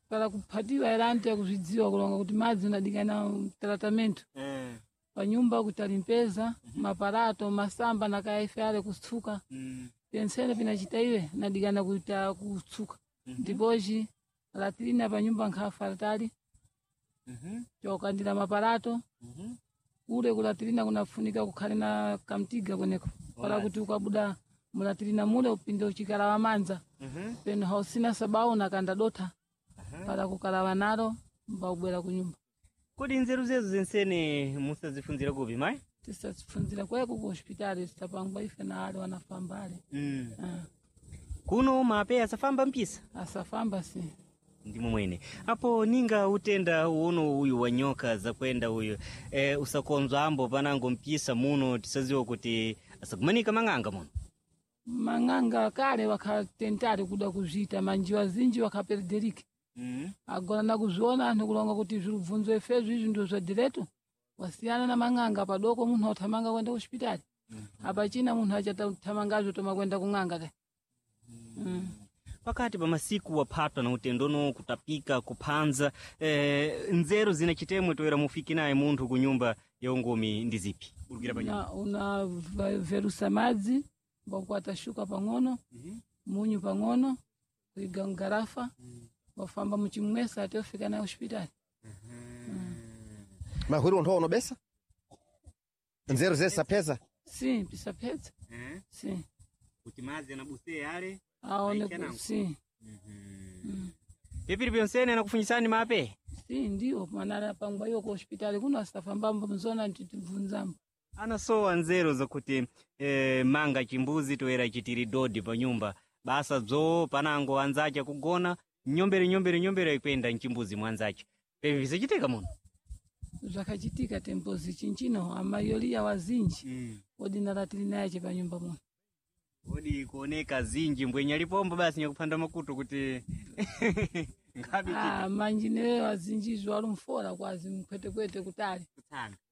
Para kuphatiwa era anti yakuzvidziwa kulonga kuti madzi unadikana tratamento. Panyumba kuti alimpeza maparato masamba nakaife ale kutsuka. Pensene pinachita iwe nadikana kuita kutsuka. Ndipochi latrina panyumba nkhafa tali. Chokandira maparato. Kule kulatrina kunafunika kukhale na kamtiga kweneko. Para kuti ukabuda mulatrina mule upinde uchikalawa manza. Peno hausina sabau nakanda dotha. Para kukalawa nalo mbabwera kunyumba. Kodi nzeru zezo zensene musazifunzira kupi mayi? Tisazifunzira kweko ku hospitali tisapangwa ife na ale wanafamba ale. Kuno mape asafamba mpisa? Asafamba si. Ndimo mwene apo ninga utenda uno uyu wa nyoka zakwenda uyu usakonzwa ambo panango mpisa muno tisaziwa kuti asakumanika mang'anga muno. Mang'anga kale wakatentale kuda kuzvita manjiwa zinji wakaperderike. Agora nakuzviona anthu kulonga kuti zvirubvunzo ifezvi izvi ndo zvadireto wasiyana na mang'anga padoko munthu authamanga kwenda kuchipitali. Apachina munthu achathamangazvo toma kwenda kung'anga ka. Pakati pa masiku waphatwa na utendono kutapika kuphanza nzeru zina chitemwe toera mufiki naye munthu ku nyumba ya ungomi ndi zipi burukira pa nyumba. Una verusa madzi mbakukwata shuka pang'ono, munyu pang'ono, kuiga mgarafa, wafamba muchimwesa ati ofika naye hospitali. Mahwiri onthu onobesa nzeru zesapeza. Sim, pisapedza. Sim. Kuti madzi anabuse ale Aone sim. Pipiri pyonsene anakufunyisani mape. Sim, ndiwo manara pangwa iyo ku hospitali kuno asafambambo mzona titibvunzambo. Anasowa nzeru zakuti manga chimbuzi toera chitiri dodi pa nyumba basa bzo panango anzacha kugona nyombere nyombere nyombere ikwenda mchimbuzi mwanzacha pevi visachitika muno. Zvakachitika tempozi chinchino amayoliya wazinji odinala tili naye pa nyumba muno. Odi kuoneka zinji mbwenya lipombo basi nyakuphanda makutu kuti ngabi. Ah, manjineyo azinjizvo alumfora kwazi mkwetekwete kutali.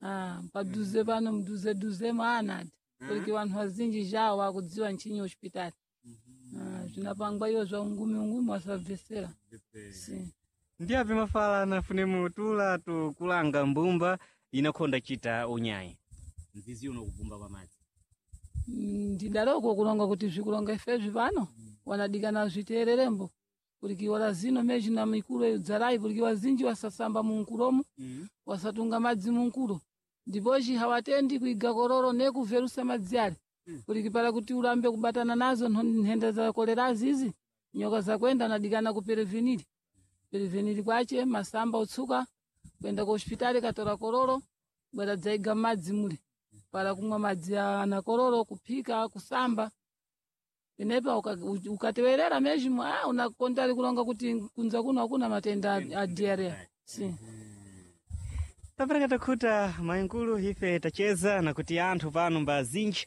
Ah, paduze pano mduze duze mwaanati kuti vanhu vazinji zhawo vakudziwa nchinyi hospitali. Ah, zvinapangwa iyo zva ungumi ungumi wasabvesera. Si. Ndiapi mafala anafune mutula tukulanga mbumba inakhonda chita unyayi mzizi uno kubumba kwa madzi. Ndidaloko kulonga kuti zvikulonga ifezvi pano wanadikana zviteererembo kuti wala zino mezhi na mikulo iyo dzalai kuti wazinji wasasamba munkulomu, wasatunga madzi munkulo ndipochi hawatendi kuiga kororo nekuverusa madzi ale kuti pala kuti ulambe kubatana nazo nthenda za kolerazi izi nyoka zakwenda nadikana ku preveniri preveniri kwache masamba utsuka kwenda ku hospitali katora kororo bwera dzaiga madzi mule para kumwa madzi ana kororo kuphika kusamba penepa ukatewerera mezhimo unakontali kulonga kuti kunza kuno hakuna matenda a diarrhea si. Tapereka takhuta mayinkulu ife tacheza na kuti anthu pano mbazinji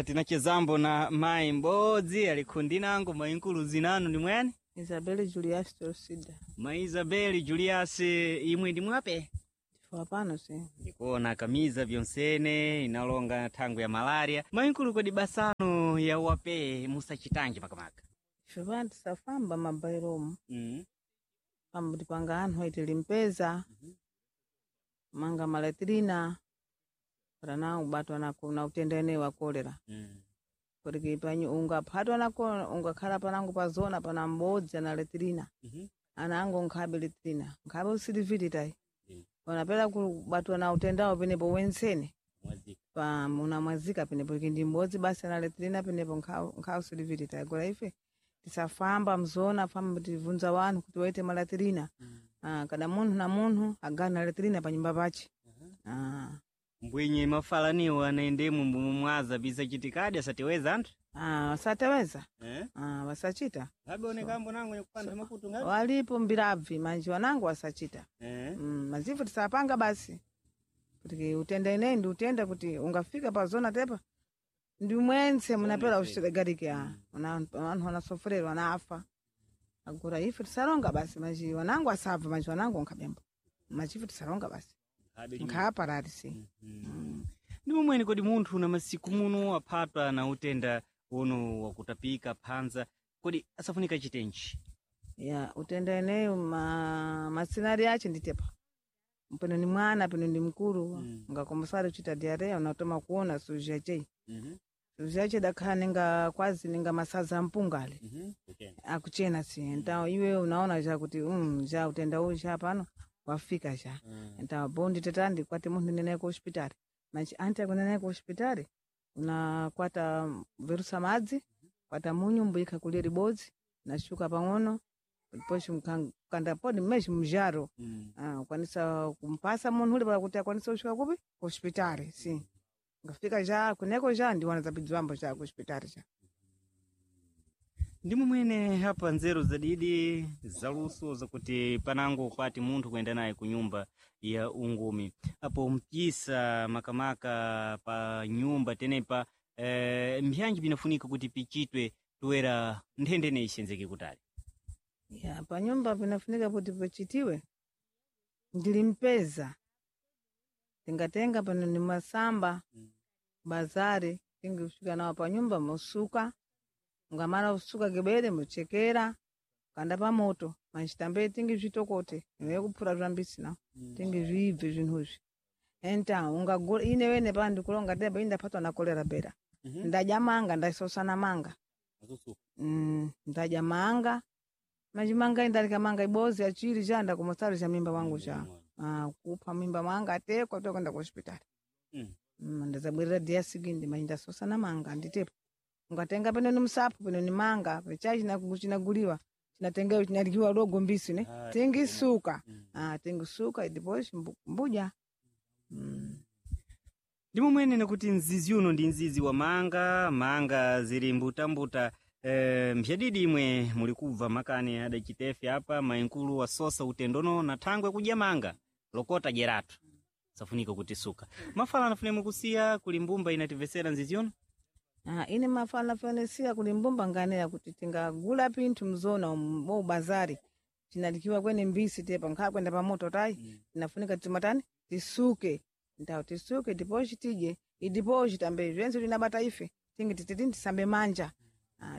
tinachezambo na mayi m'bodzi ali khundi nango. Mayinkulu zinanu ndi mwani? Isabel Julius Torcida. Mayi Isabel Julius, imwe ndi mwape? Chifukwa pano si. Ndikuona kamiza byonsene inalonga thangwi ya malaria. Mayinkulu, kodi basano ya wape musachitanji makamaka? Ife pano tisafamba mabairomu. Pambuti panga anthu aitilimpeza. Manga malatrina para na ubatwa na utenda ene wa kolera. Porque panyu ungaphatwa nako ungakhala panango pa zona pana m'bodzi ana latrina. Ana ango nkhabe latrina nkhabe usiliviti tayi. Panapera kubatwa na utendawo penepo wensene pa unamwazika penepo ndi m'bodzi basi ana latrina penepo nkhawe usiliviti tayi. Agora ife tisafamba mzona famba tivunza wanthu kuti waite malatrina. Kada munthu na munthu agana latrina pa nyumba pache. Mbwenye mafalaniwo anaendemo mbumumwaza bisachitikadi asatiweza anthu. Wasateweza. Wasachita. Abeonekambo nango nyakupanda makutu ngapi? Walipo mbirabvi manji wanangu wasachita. Mazivu tisapanga basi kuti utenda ineyi ndi utenda kuti ungafika pa zona tepa ndi mwense munapera ushigarike anthu anasofererwa anafa. Agora ife tisalonga basi manji wanangu asabva manji wanangu nkhabembo machifu tisalonga basi nkhaparati si. Ndi momweni kodi munthu na masiku muno aphatwa na utenda uno wakutapika phanza kodi asafunika chitenji? Ya utenda eneyo masinari ache nditepa pano ni mwana pano ndi mkulu ngakombosari uchita diarrhea unatoma kuona suzha chei suzha che dakhala ninga kwazi ninga masaza mpungale akuchena si ntawo iwe unaona ja kuti ja utenda uyu ja pano wafika ja ntawo bondi tetandi kwati munthu nenaye ku hospitali manji anti akunenaye ku hospitali unakwata verusa madzi kwata munyu mbuyikha kulia libodzi nashuka pang'ono poshi kanda podi mmeshi mzharo. Ukwanisa kumpasa munthu uli pala kuti akwanise kusvika kupi ku hospitali si ngafika ja kuneko ja ndiwana zapidziwambo ja ku hospitali ja. Ndimo mwene hapa nzeru zadidi zaluso zakuti panango kwati munthu kuyenda naye ku nyumba ya ungumi apo mpisa makamaka pa nyumba tenepa mbyanji binafunika kuti pichitwe toera nthendene ixenzeke kutali. Ya, panyumba pinafunika kuti pachitiwe ndilimpeza tingatenga pano ni masamba bazari tingisvika nawo panyumba mosuka, ungamala kusuka kibere mochekera kanda pamoto manchitambe tingizvitokote iwe kuphura zvambisi nawo tingizviibve zvinhuzvi enta ungagula ine wene pa ndikulonga teba ine ndaphatwa na kolera bera ndadya manga ndasosana manga ndadya manga machimanga indalika manga ibozi achiri cha ndakumosari cha mimba wangu cha kupha mimba mwanga atekwa tokwenda ku hospitali. Ndazabwerera diasigindi manyi ndasosana manga nditepo ungatenga peno ni msapo peno ni manga pecha chinaguliwa chinatengewa chinalikiwa logo mbisi ne tingisuka tingisuka ndipo mbuja. Ndimo mwene nakuti mzizi uno ndi mzizi wa manga manga zili mbutambuta mbyadidi imwe muli kubva makani adacitefe apa mainkulu wasosa utendono na thangwe kudya manga lokota jeratu safunika kutisuka mafala anafune mukusiya kuli mbumba inativesera mzizi uno. Ine mafala fanesiya kuli mbumba nganera kuti tingagula pinthu mzona mo bazari chinalikiwa kwene mbisi tepa nkhala kwenda pamoto tayi tinafunika timatani tisuke ndawo tisuke dipochi tidye idipochi tambe zvense tinabata ife tingi tititi tisambe manja.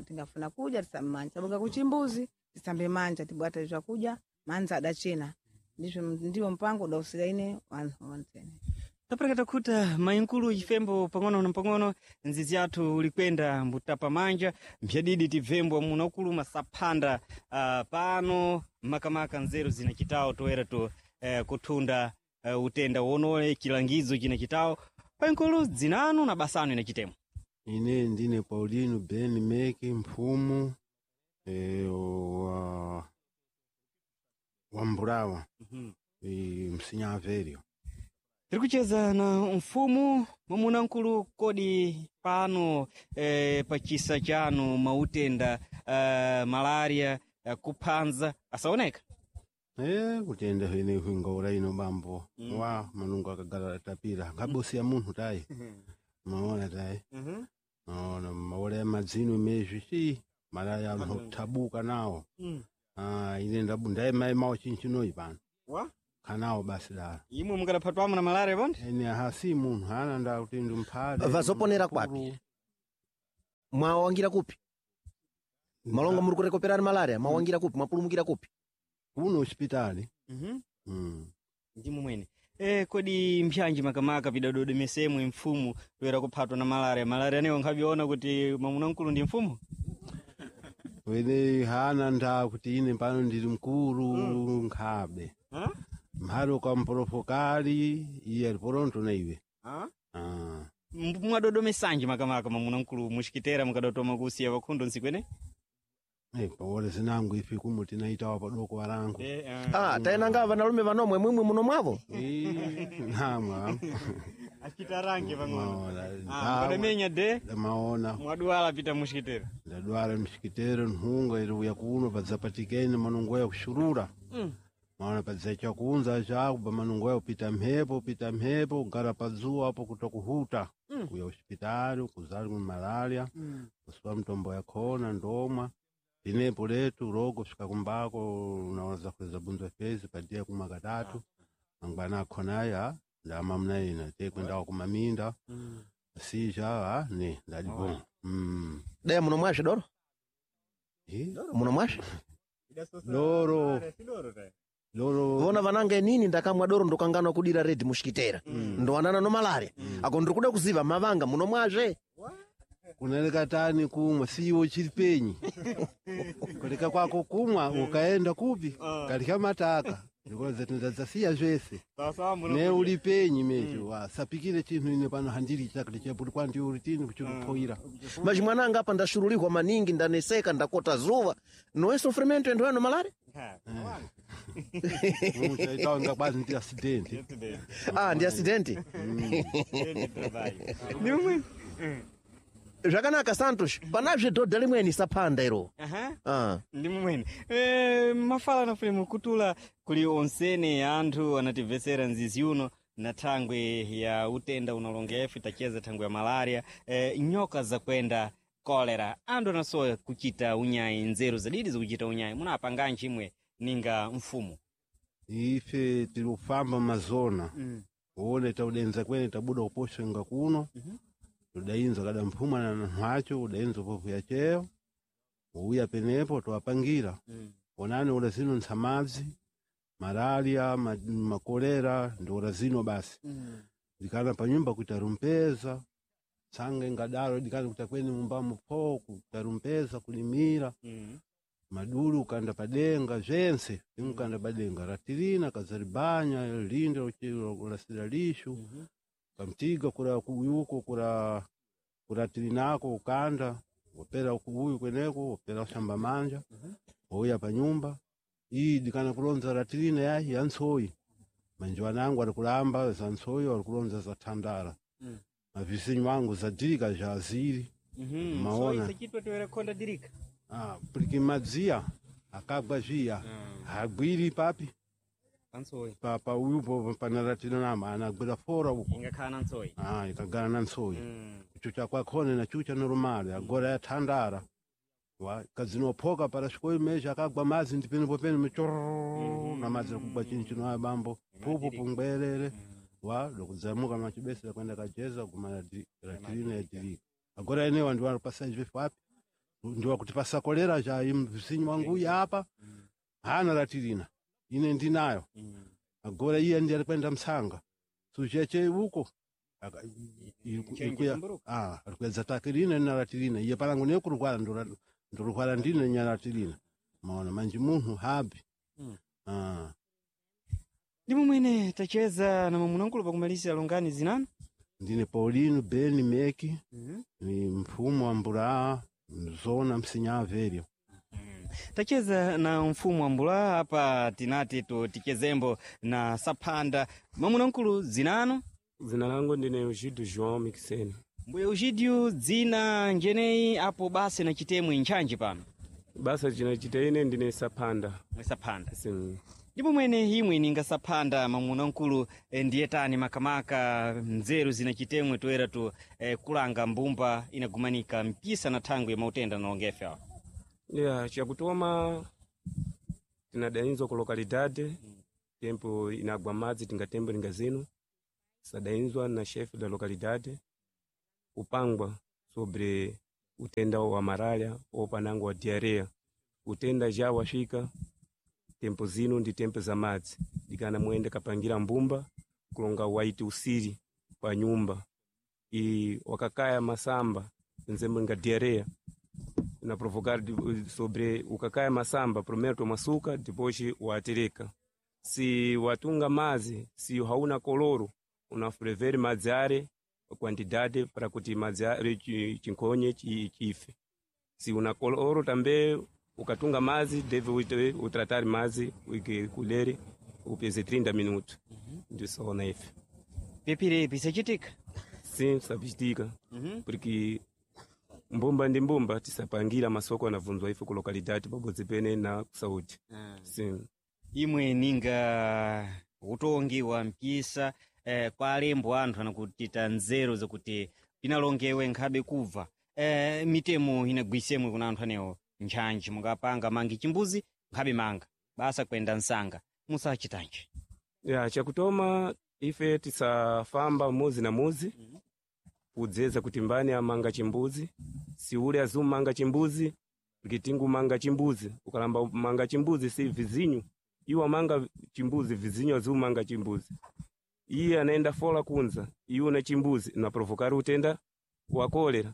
Tingafuna kudya tisambe manja tabuka kuchimbuzi tisambe manja tibwate zvakudya manza adachena ndizvo ndiwo mpango udausira ine vanhu vansene. Tapereka kuta mainkulu chifembo pang'ono na pang'ono nzizi yathu ulikwenda mbutapa manja mbyadidi tibvembwa munakuluma saphanda pano makamaka nzeru zinachitawo toera to kuthunda utenda wonole chilangizo chinachitawo painkulu dzinanu na basanu inachitemo. Ine ndine Paulino Ben Meki mphumu wa Mbulawa msinyavelyo. Tiri kucheza na mfumu mwamuna nkulu kodi pano pachisa chanu mautenda malaria kuphanza asaoneka. Kutenda ine huingaura ino bambo wa manungu akagala tapira ngabosi ya munthu tayi maona tayi maona maola ya madzino mezvi chi malaya anthu kuthabuka nawo. Ine ndaimayimawo chinchinoyi pano wa khanawo basi dala imwe mukadaphatwamo na malaria ponde ene hasi munthu ana ndakuti ndi mphale Vazoponera kwapi? Mwawangira kupi? Malonga muri kurekoperani malaria mwawangira kupi mwapulumukira kupi? Kuno hospitali. Ndimo mwene kodi mpyanji makamaka pidadodomesemwe mfumu toera kuphatwa na malaria malaria newo nkhaviona kuti mwamuna mkulu ndi mfumu. Wene hana nda kuti ine pano ndili mkulu nkhabe mphale ukamporofokali iye aliporonto na iwe. Mwadodomesanji makamaka mwamuna mkulu muxikitera mukadotoma kusiya vakhundo ntsiku ene. Pawole zinango ife kumu tinaitawa padoko walangu. Taenanga vanalume vanomwe mwimwe muno mwavo. Namwa achitarange pang'ono Maona. mukadamenya de maona mwadwala pita muxikitera. Ndadwala mxikitero nthunga iri uya kuno padzapatikene manungo ya kuxurura maona padzacha kunza chakuba manungo ya kupita mphepo upita mphepo kugara padzuwa apo kuta kuhuta kuya hospitali kuzali ku malaria kusipa mtombo yakhona ndomwa linepo letu rogo fika kumbako unaweza kuweza bunza fezi padia kumwa katatu mangwana akhonaya ndama ina te kwendawa kumaminda sija ne ndalipo. Daya muno mwashe doro muno mwashe doro doro vona vanange nini ndakamwa doro ndokanganwa kudira redi mushikitera ndowanana no malaria ako ndiri kuda kuziva mavanga muno mwazve. Kunaleka tani kumwa siwo chili penyi kuleka kwako kumwa ukaenda kupi kalika mataka ndikoza zvese ne uli penyi mecho wasapikire chinthu ine pano handili chakati chapuli kwandi uli tini kuchikupoira. Maji mwananga apa ndashurulihwa maningi ndaneseka ndakota zuva noe sofrimento endo yano malaria. Chaitanga kwazi ndi accident. Ndi accident. Zvakanaka Santos, panazve dhodha limweni saphanda iro. Aha. Ah. Ndi mumwene mafala nafune mukutula kuli onsene anthu anatibvesera nzizi uno na thangwe ya utenda unalongefu tacheza thangwe ya malaria nyoka zakwenda kolera anthu anasowa kuchita unyayi nzeru zadidi zikuchita unyayi munapanganji imwe ninga mfumu Ife tiri kufamba mazona uone taudenza kwene tabuda kuposhenga kuno tudainza kada mphuma na nhwacho udainza povu yacheyo uya penepo twapangira onani ula zino ntsamadzi malaria makolera ndi ula zino basi dikana panyumba kuita rumpeza tsange ngadalo dikana kuita kweni mumbamo pho kuita rumpeza kulimira madulu ukanda padenga zvense imukanda padenga ratirina kazaribanya linde ulasira lishu kamtiga kura kuyuko kura kuratirinako ukanda wopera kuuyu kweneko wopera ushamba manja wouya panyumba iyi dikana kulonza ratirina yayi ya ntsoyi manje wanangu ari kulamba za ntsoyi ari kulonza za thandara mavizinyu wangu zadirika zha aziri Maona. chitwa tiwere konda dirika Ah, porque madziya akagwa zviya hagwiri papi pantsoyi pa uyupo panaratinanama anagwira fora uko ingakhala na ntsoyi ah, ikagara na ntsoyi kuchucha kwakhone na chucha normal agora yathandara wa kazinophoka para xikoyi mesha akagwa madzi ndi penepo pene michororo na madzi akugwa chini chino aya bambo pupu pungwerere wa lokudzamuka machibesera kwenda kajeza guma ratirina yadirika agora enewa ndiwapasa izvefu api ndiwakuti pasakolera cha mvisinyi wangu uyu apa hana ratirina ine ndinayo agora iye ndi ari kwenda msanga sucheche uko arikuedza takirina naratirina iye palangu nekurwara ndorwara ndine nyaratirina maona manje munhu habi Ah. ndi mumwene tacheza na mamunankulu pakumalisa longani zinanu ndine Paulino Beni Meki ni mfumu wa Mbulaa mzona msinyavelyo tacheza na mfumu wa mbula apa tinati tichezembo na saphanda mamunankulu zinanu Zina langu ndine Eugídio João Mixene. mbuya Eugídio dzina njeneyi apo basi na chitemwe ntchantchi pano Basa cinachita ine ndine saphanda. Mwe saphanda. Sim. Ndipo mwene imwe ninga saphanda mamunankulu ndiye tani makamaka nzeru zina chitemwe toera tu kulanga mbumba inagumanika mpisa na thangwe ya mautenda nalongefe awa Yeah, chakutoma tinadainzwa ku localidade tempo inagwa madzi tinga tembo linga zino sadainzwa na chefe da localidade kupangwa sobre utenda wa malaria ou panango wa diarreia utenda já wafika tempo zino ndi tempo za madzi dikana muende kapangira mbumba kulonga waiti usiri pa nyumba e wakakaya masamba nzembo nga diarreia na provocar sobre ukakaya masamba primeiro tomasuka depois watereka se watunga mazi se hauna koloro unafureveri madzi are quantidade para kuti madzi are chinkhonye chife se una koloro tambe ukatunga mazi deve utratar mazi uike kulere upeze 30 minutos ndisona ife pepire pisachitika sim sapichitika porque mbumba ndi mbumba tisapangira masoko anavunzwa ife ku localidade pabodzi pene na kusaudi sim imwe ninga utongi wa mpisa kwa alembo anthu anakutita nzeru zakuti pinalongewe nkhabe kubva mitemo inagwisemwe kuna anthu anewo ntchantchi mungapanga mangi chimbuzi nkhabe manga basa kwenda msanga musachitanji ya chakutoma ife tisafamba muzi na muzi kudzeza kuti mbani amanga chimbuzi si ule azumanga chimbuzi porque tingumanga chimbuzi ukalamba manga chimbuzi si vizinyu iwo amanga chimbuzi vizinyu azumanga chimbuzi iye anaenda fola kunza iwe una chimbuzi na provocar utenda wa kolera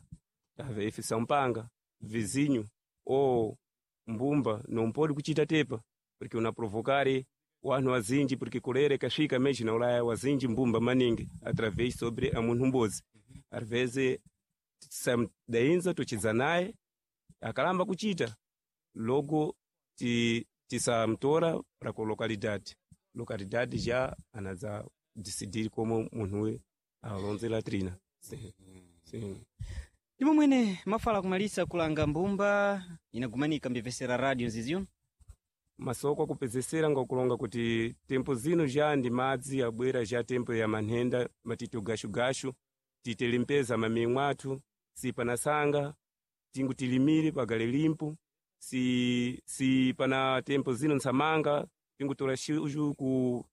ave ife sampanga vizinyu o mbumba nompodi kuchita tepa porque una provocare wanhu wazinji porque kolera ikasvika meji na ulaya wazinji mbumba maningi através sobre a munhu mbozi às vezes samdainza tuchidza naye akalamba kuchita logo tisamtora para ku localidade localidade já anadza decidir como munhuwe alonze latrina sim, sim. Ndimo mwene mafala kumalisa kulanga mbumba inagumanika mbivesera radio ziziyo. Masoko akupezesera ngakulonga kuti tempo zino ja ndi madzi abwera ja tempo ya manhenda matito gashugashu, titelimpeza mamimwe athu si panasanga tingu tilimire pagale limpo si pana tempo zino ntsamanga tingutola shuju ku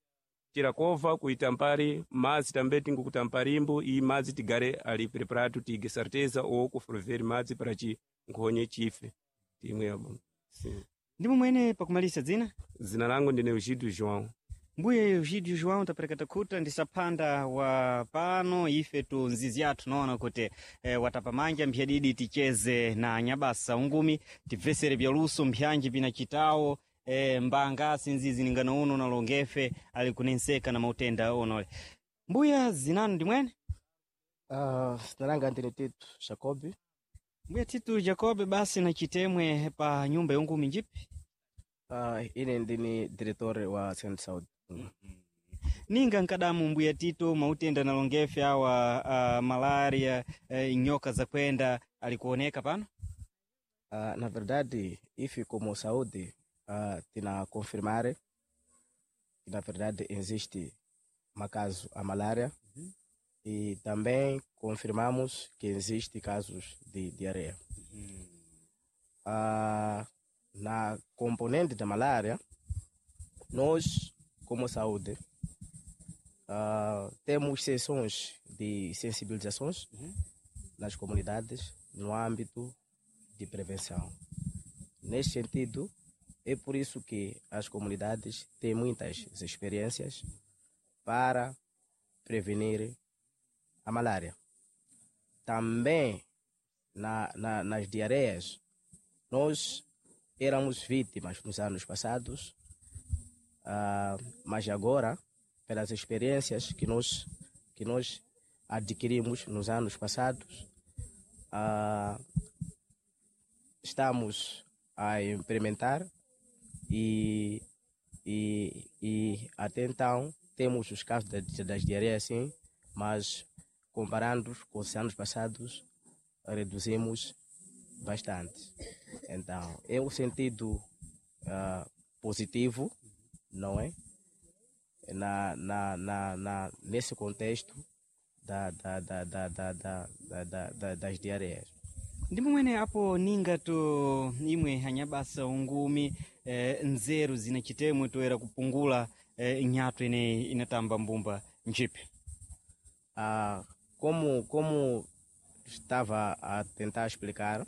tirakova kuita mpari madzi tambe tingukuta mparimbo iyi madzi tigare ali preparado tige certeza ou kuferver madzi para chi nkhonye chife timwe yabo. Sim. Ndimo mwene pakumalisa dzina? Zina langu ndine Eugídio João. Mbuye Eugídio João tapereka khuta ndi saphanda wa pano ife tu nzizi yathu noona kuti watapamanja mphyadidi ticheze na nyabasa ungumi tibvesere byaluso mpyanji pinachitawo mbanga sinzizi ningano uno nalongefe ali kunenseka na mautenda onole. Mbuya zinanu ndi mwene? Zina langa ndine Tito Jacob. Mbuya Tito Jacob, basi na chitemwe pa nyumba yongumi njipi? Ine ndini diretor wa Centro Saúde. Ninga nkadamu mbuya Tito mautenda nalongefe awa malaria nyoka zakwenda alikuoneka pano? Na verdade, ife como saúde tina confirmar que na verdade existe uma caso a malária e também confirmamos que existe casos de diarreia. Na componente da malária, nós como saúde temos sessões de sensibilizações nas comunidades no âmbito de prevenção. Nesse sentido, é por isso que as comunidades têm muitas experiências para prevenir a malária. Também nas diarreias, nós éramos vítimas nos anos passados, mas agora, pelas experiências que nós adquirimos nos anos passados, estamos a implementar e até então temos os casos das diarreias, sim, mas comparando com os anos passados, reduzimos bastante. Então, é um sentido positivo, não é? Nesse contexto das diarreias. Ndimo mwene apo ninga tu imwe anyabasa ungumi nzeru zina chitemwe toera kupungula nyatu ine inatamba mbumba njipi. Como estava a tentar explicar,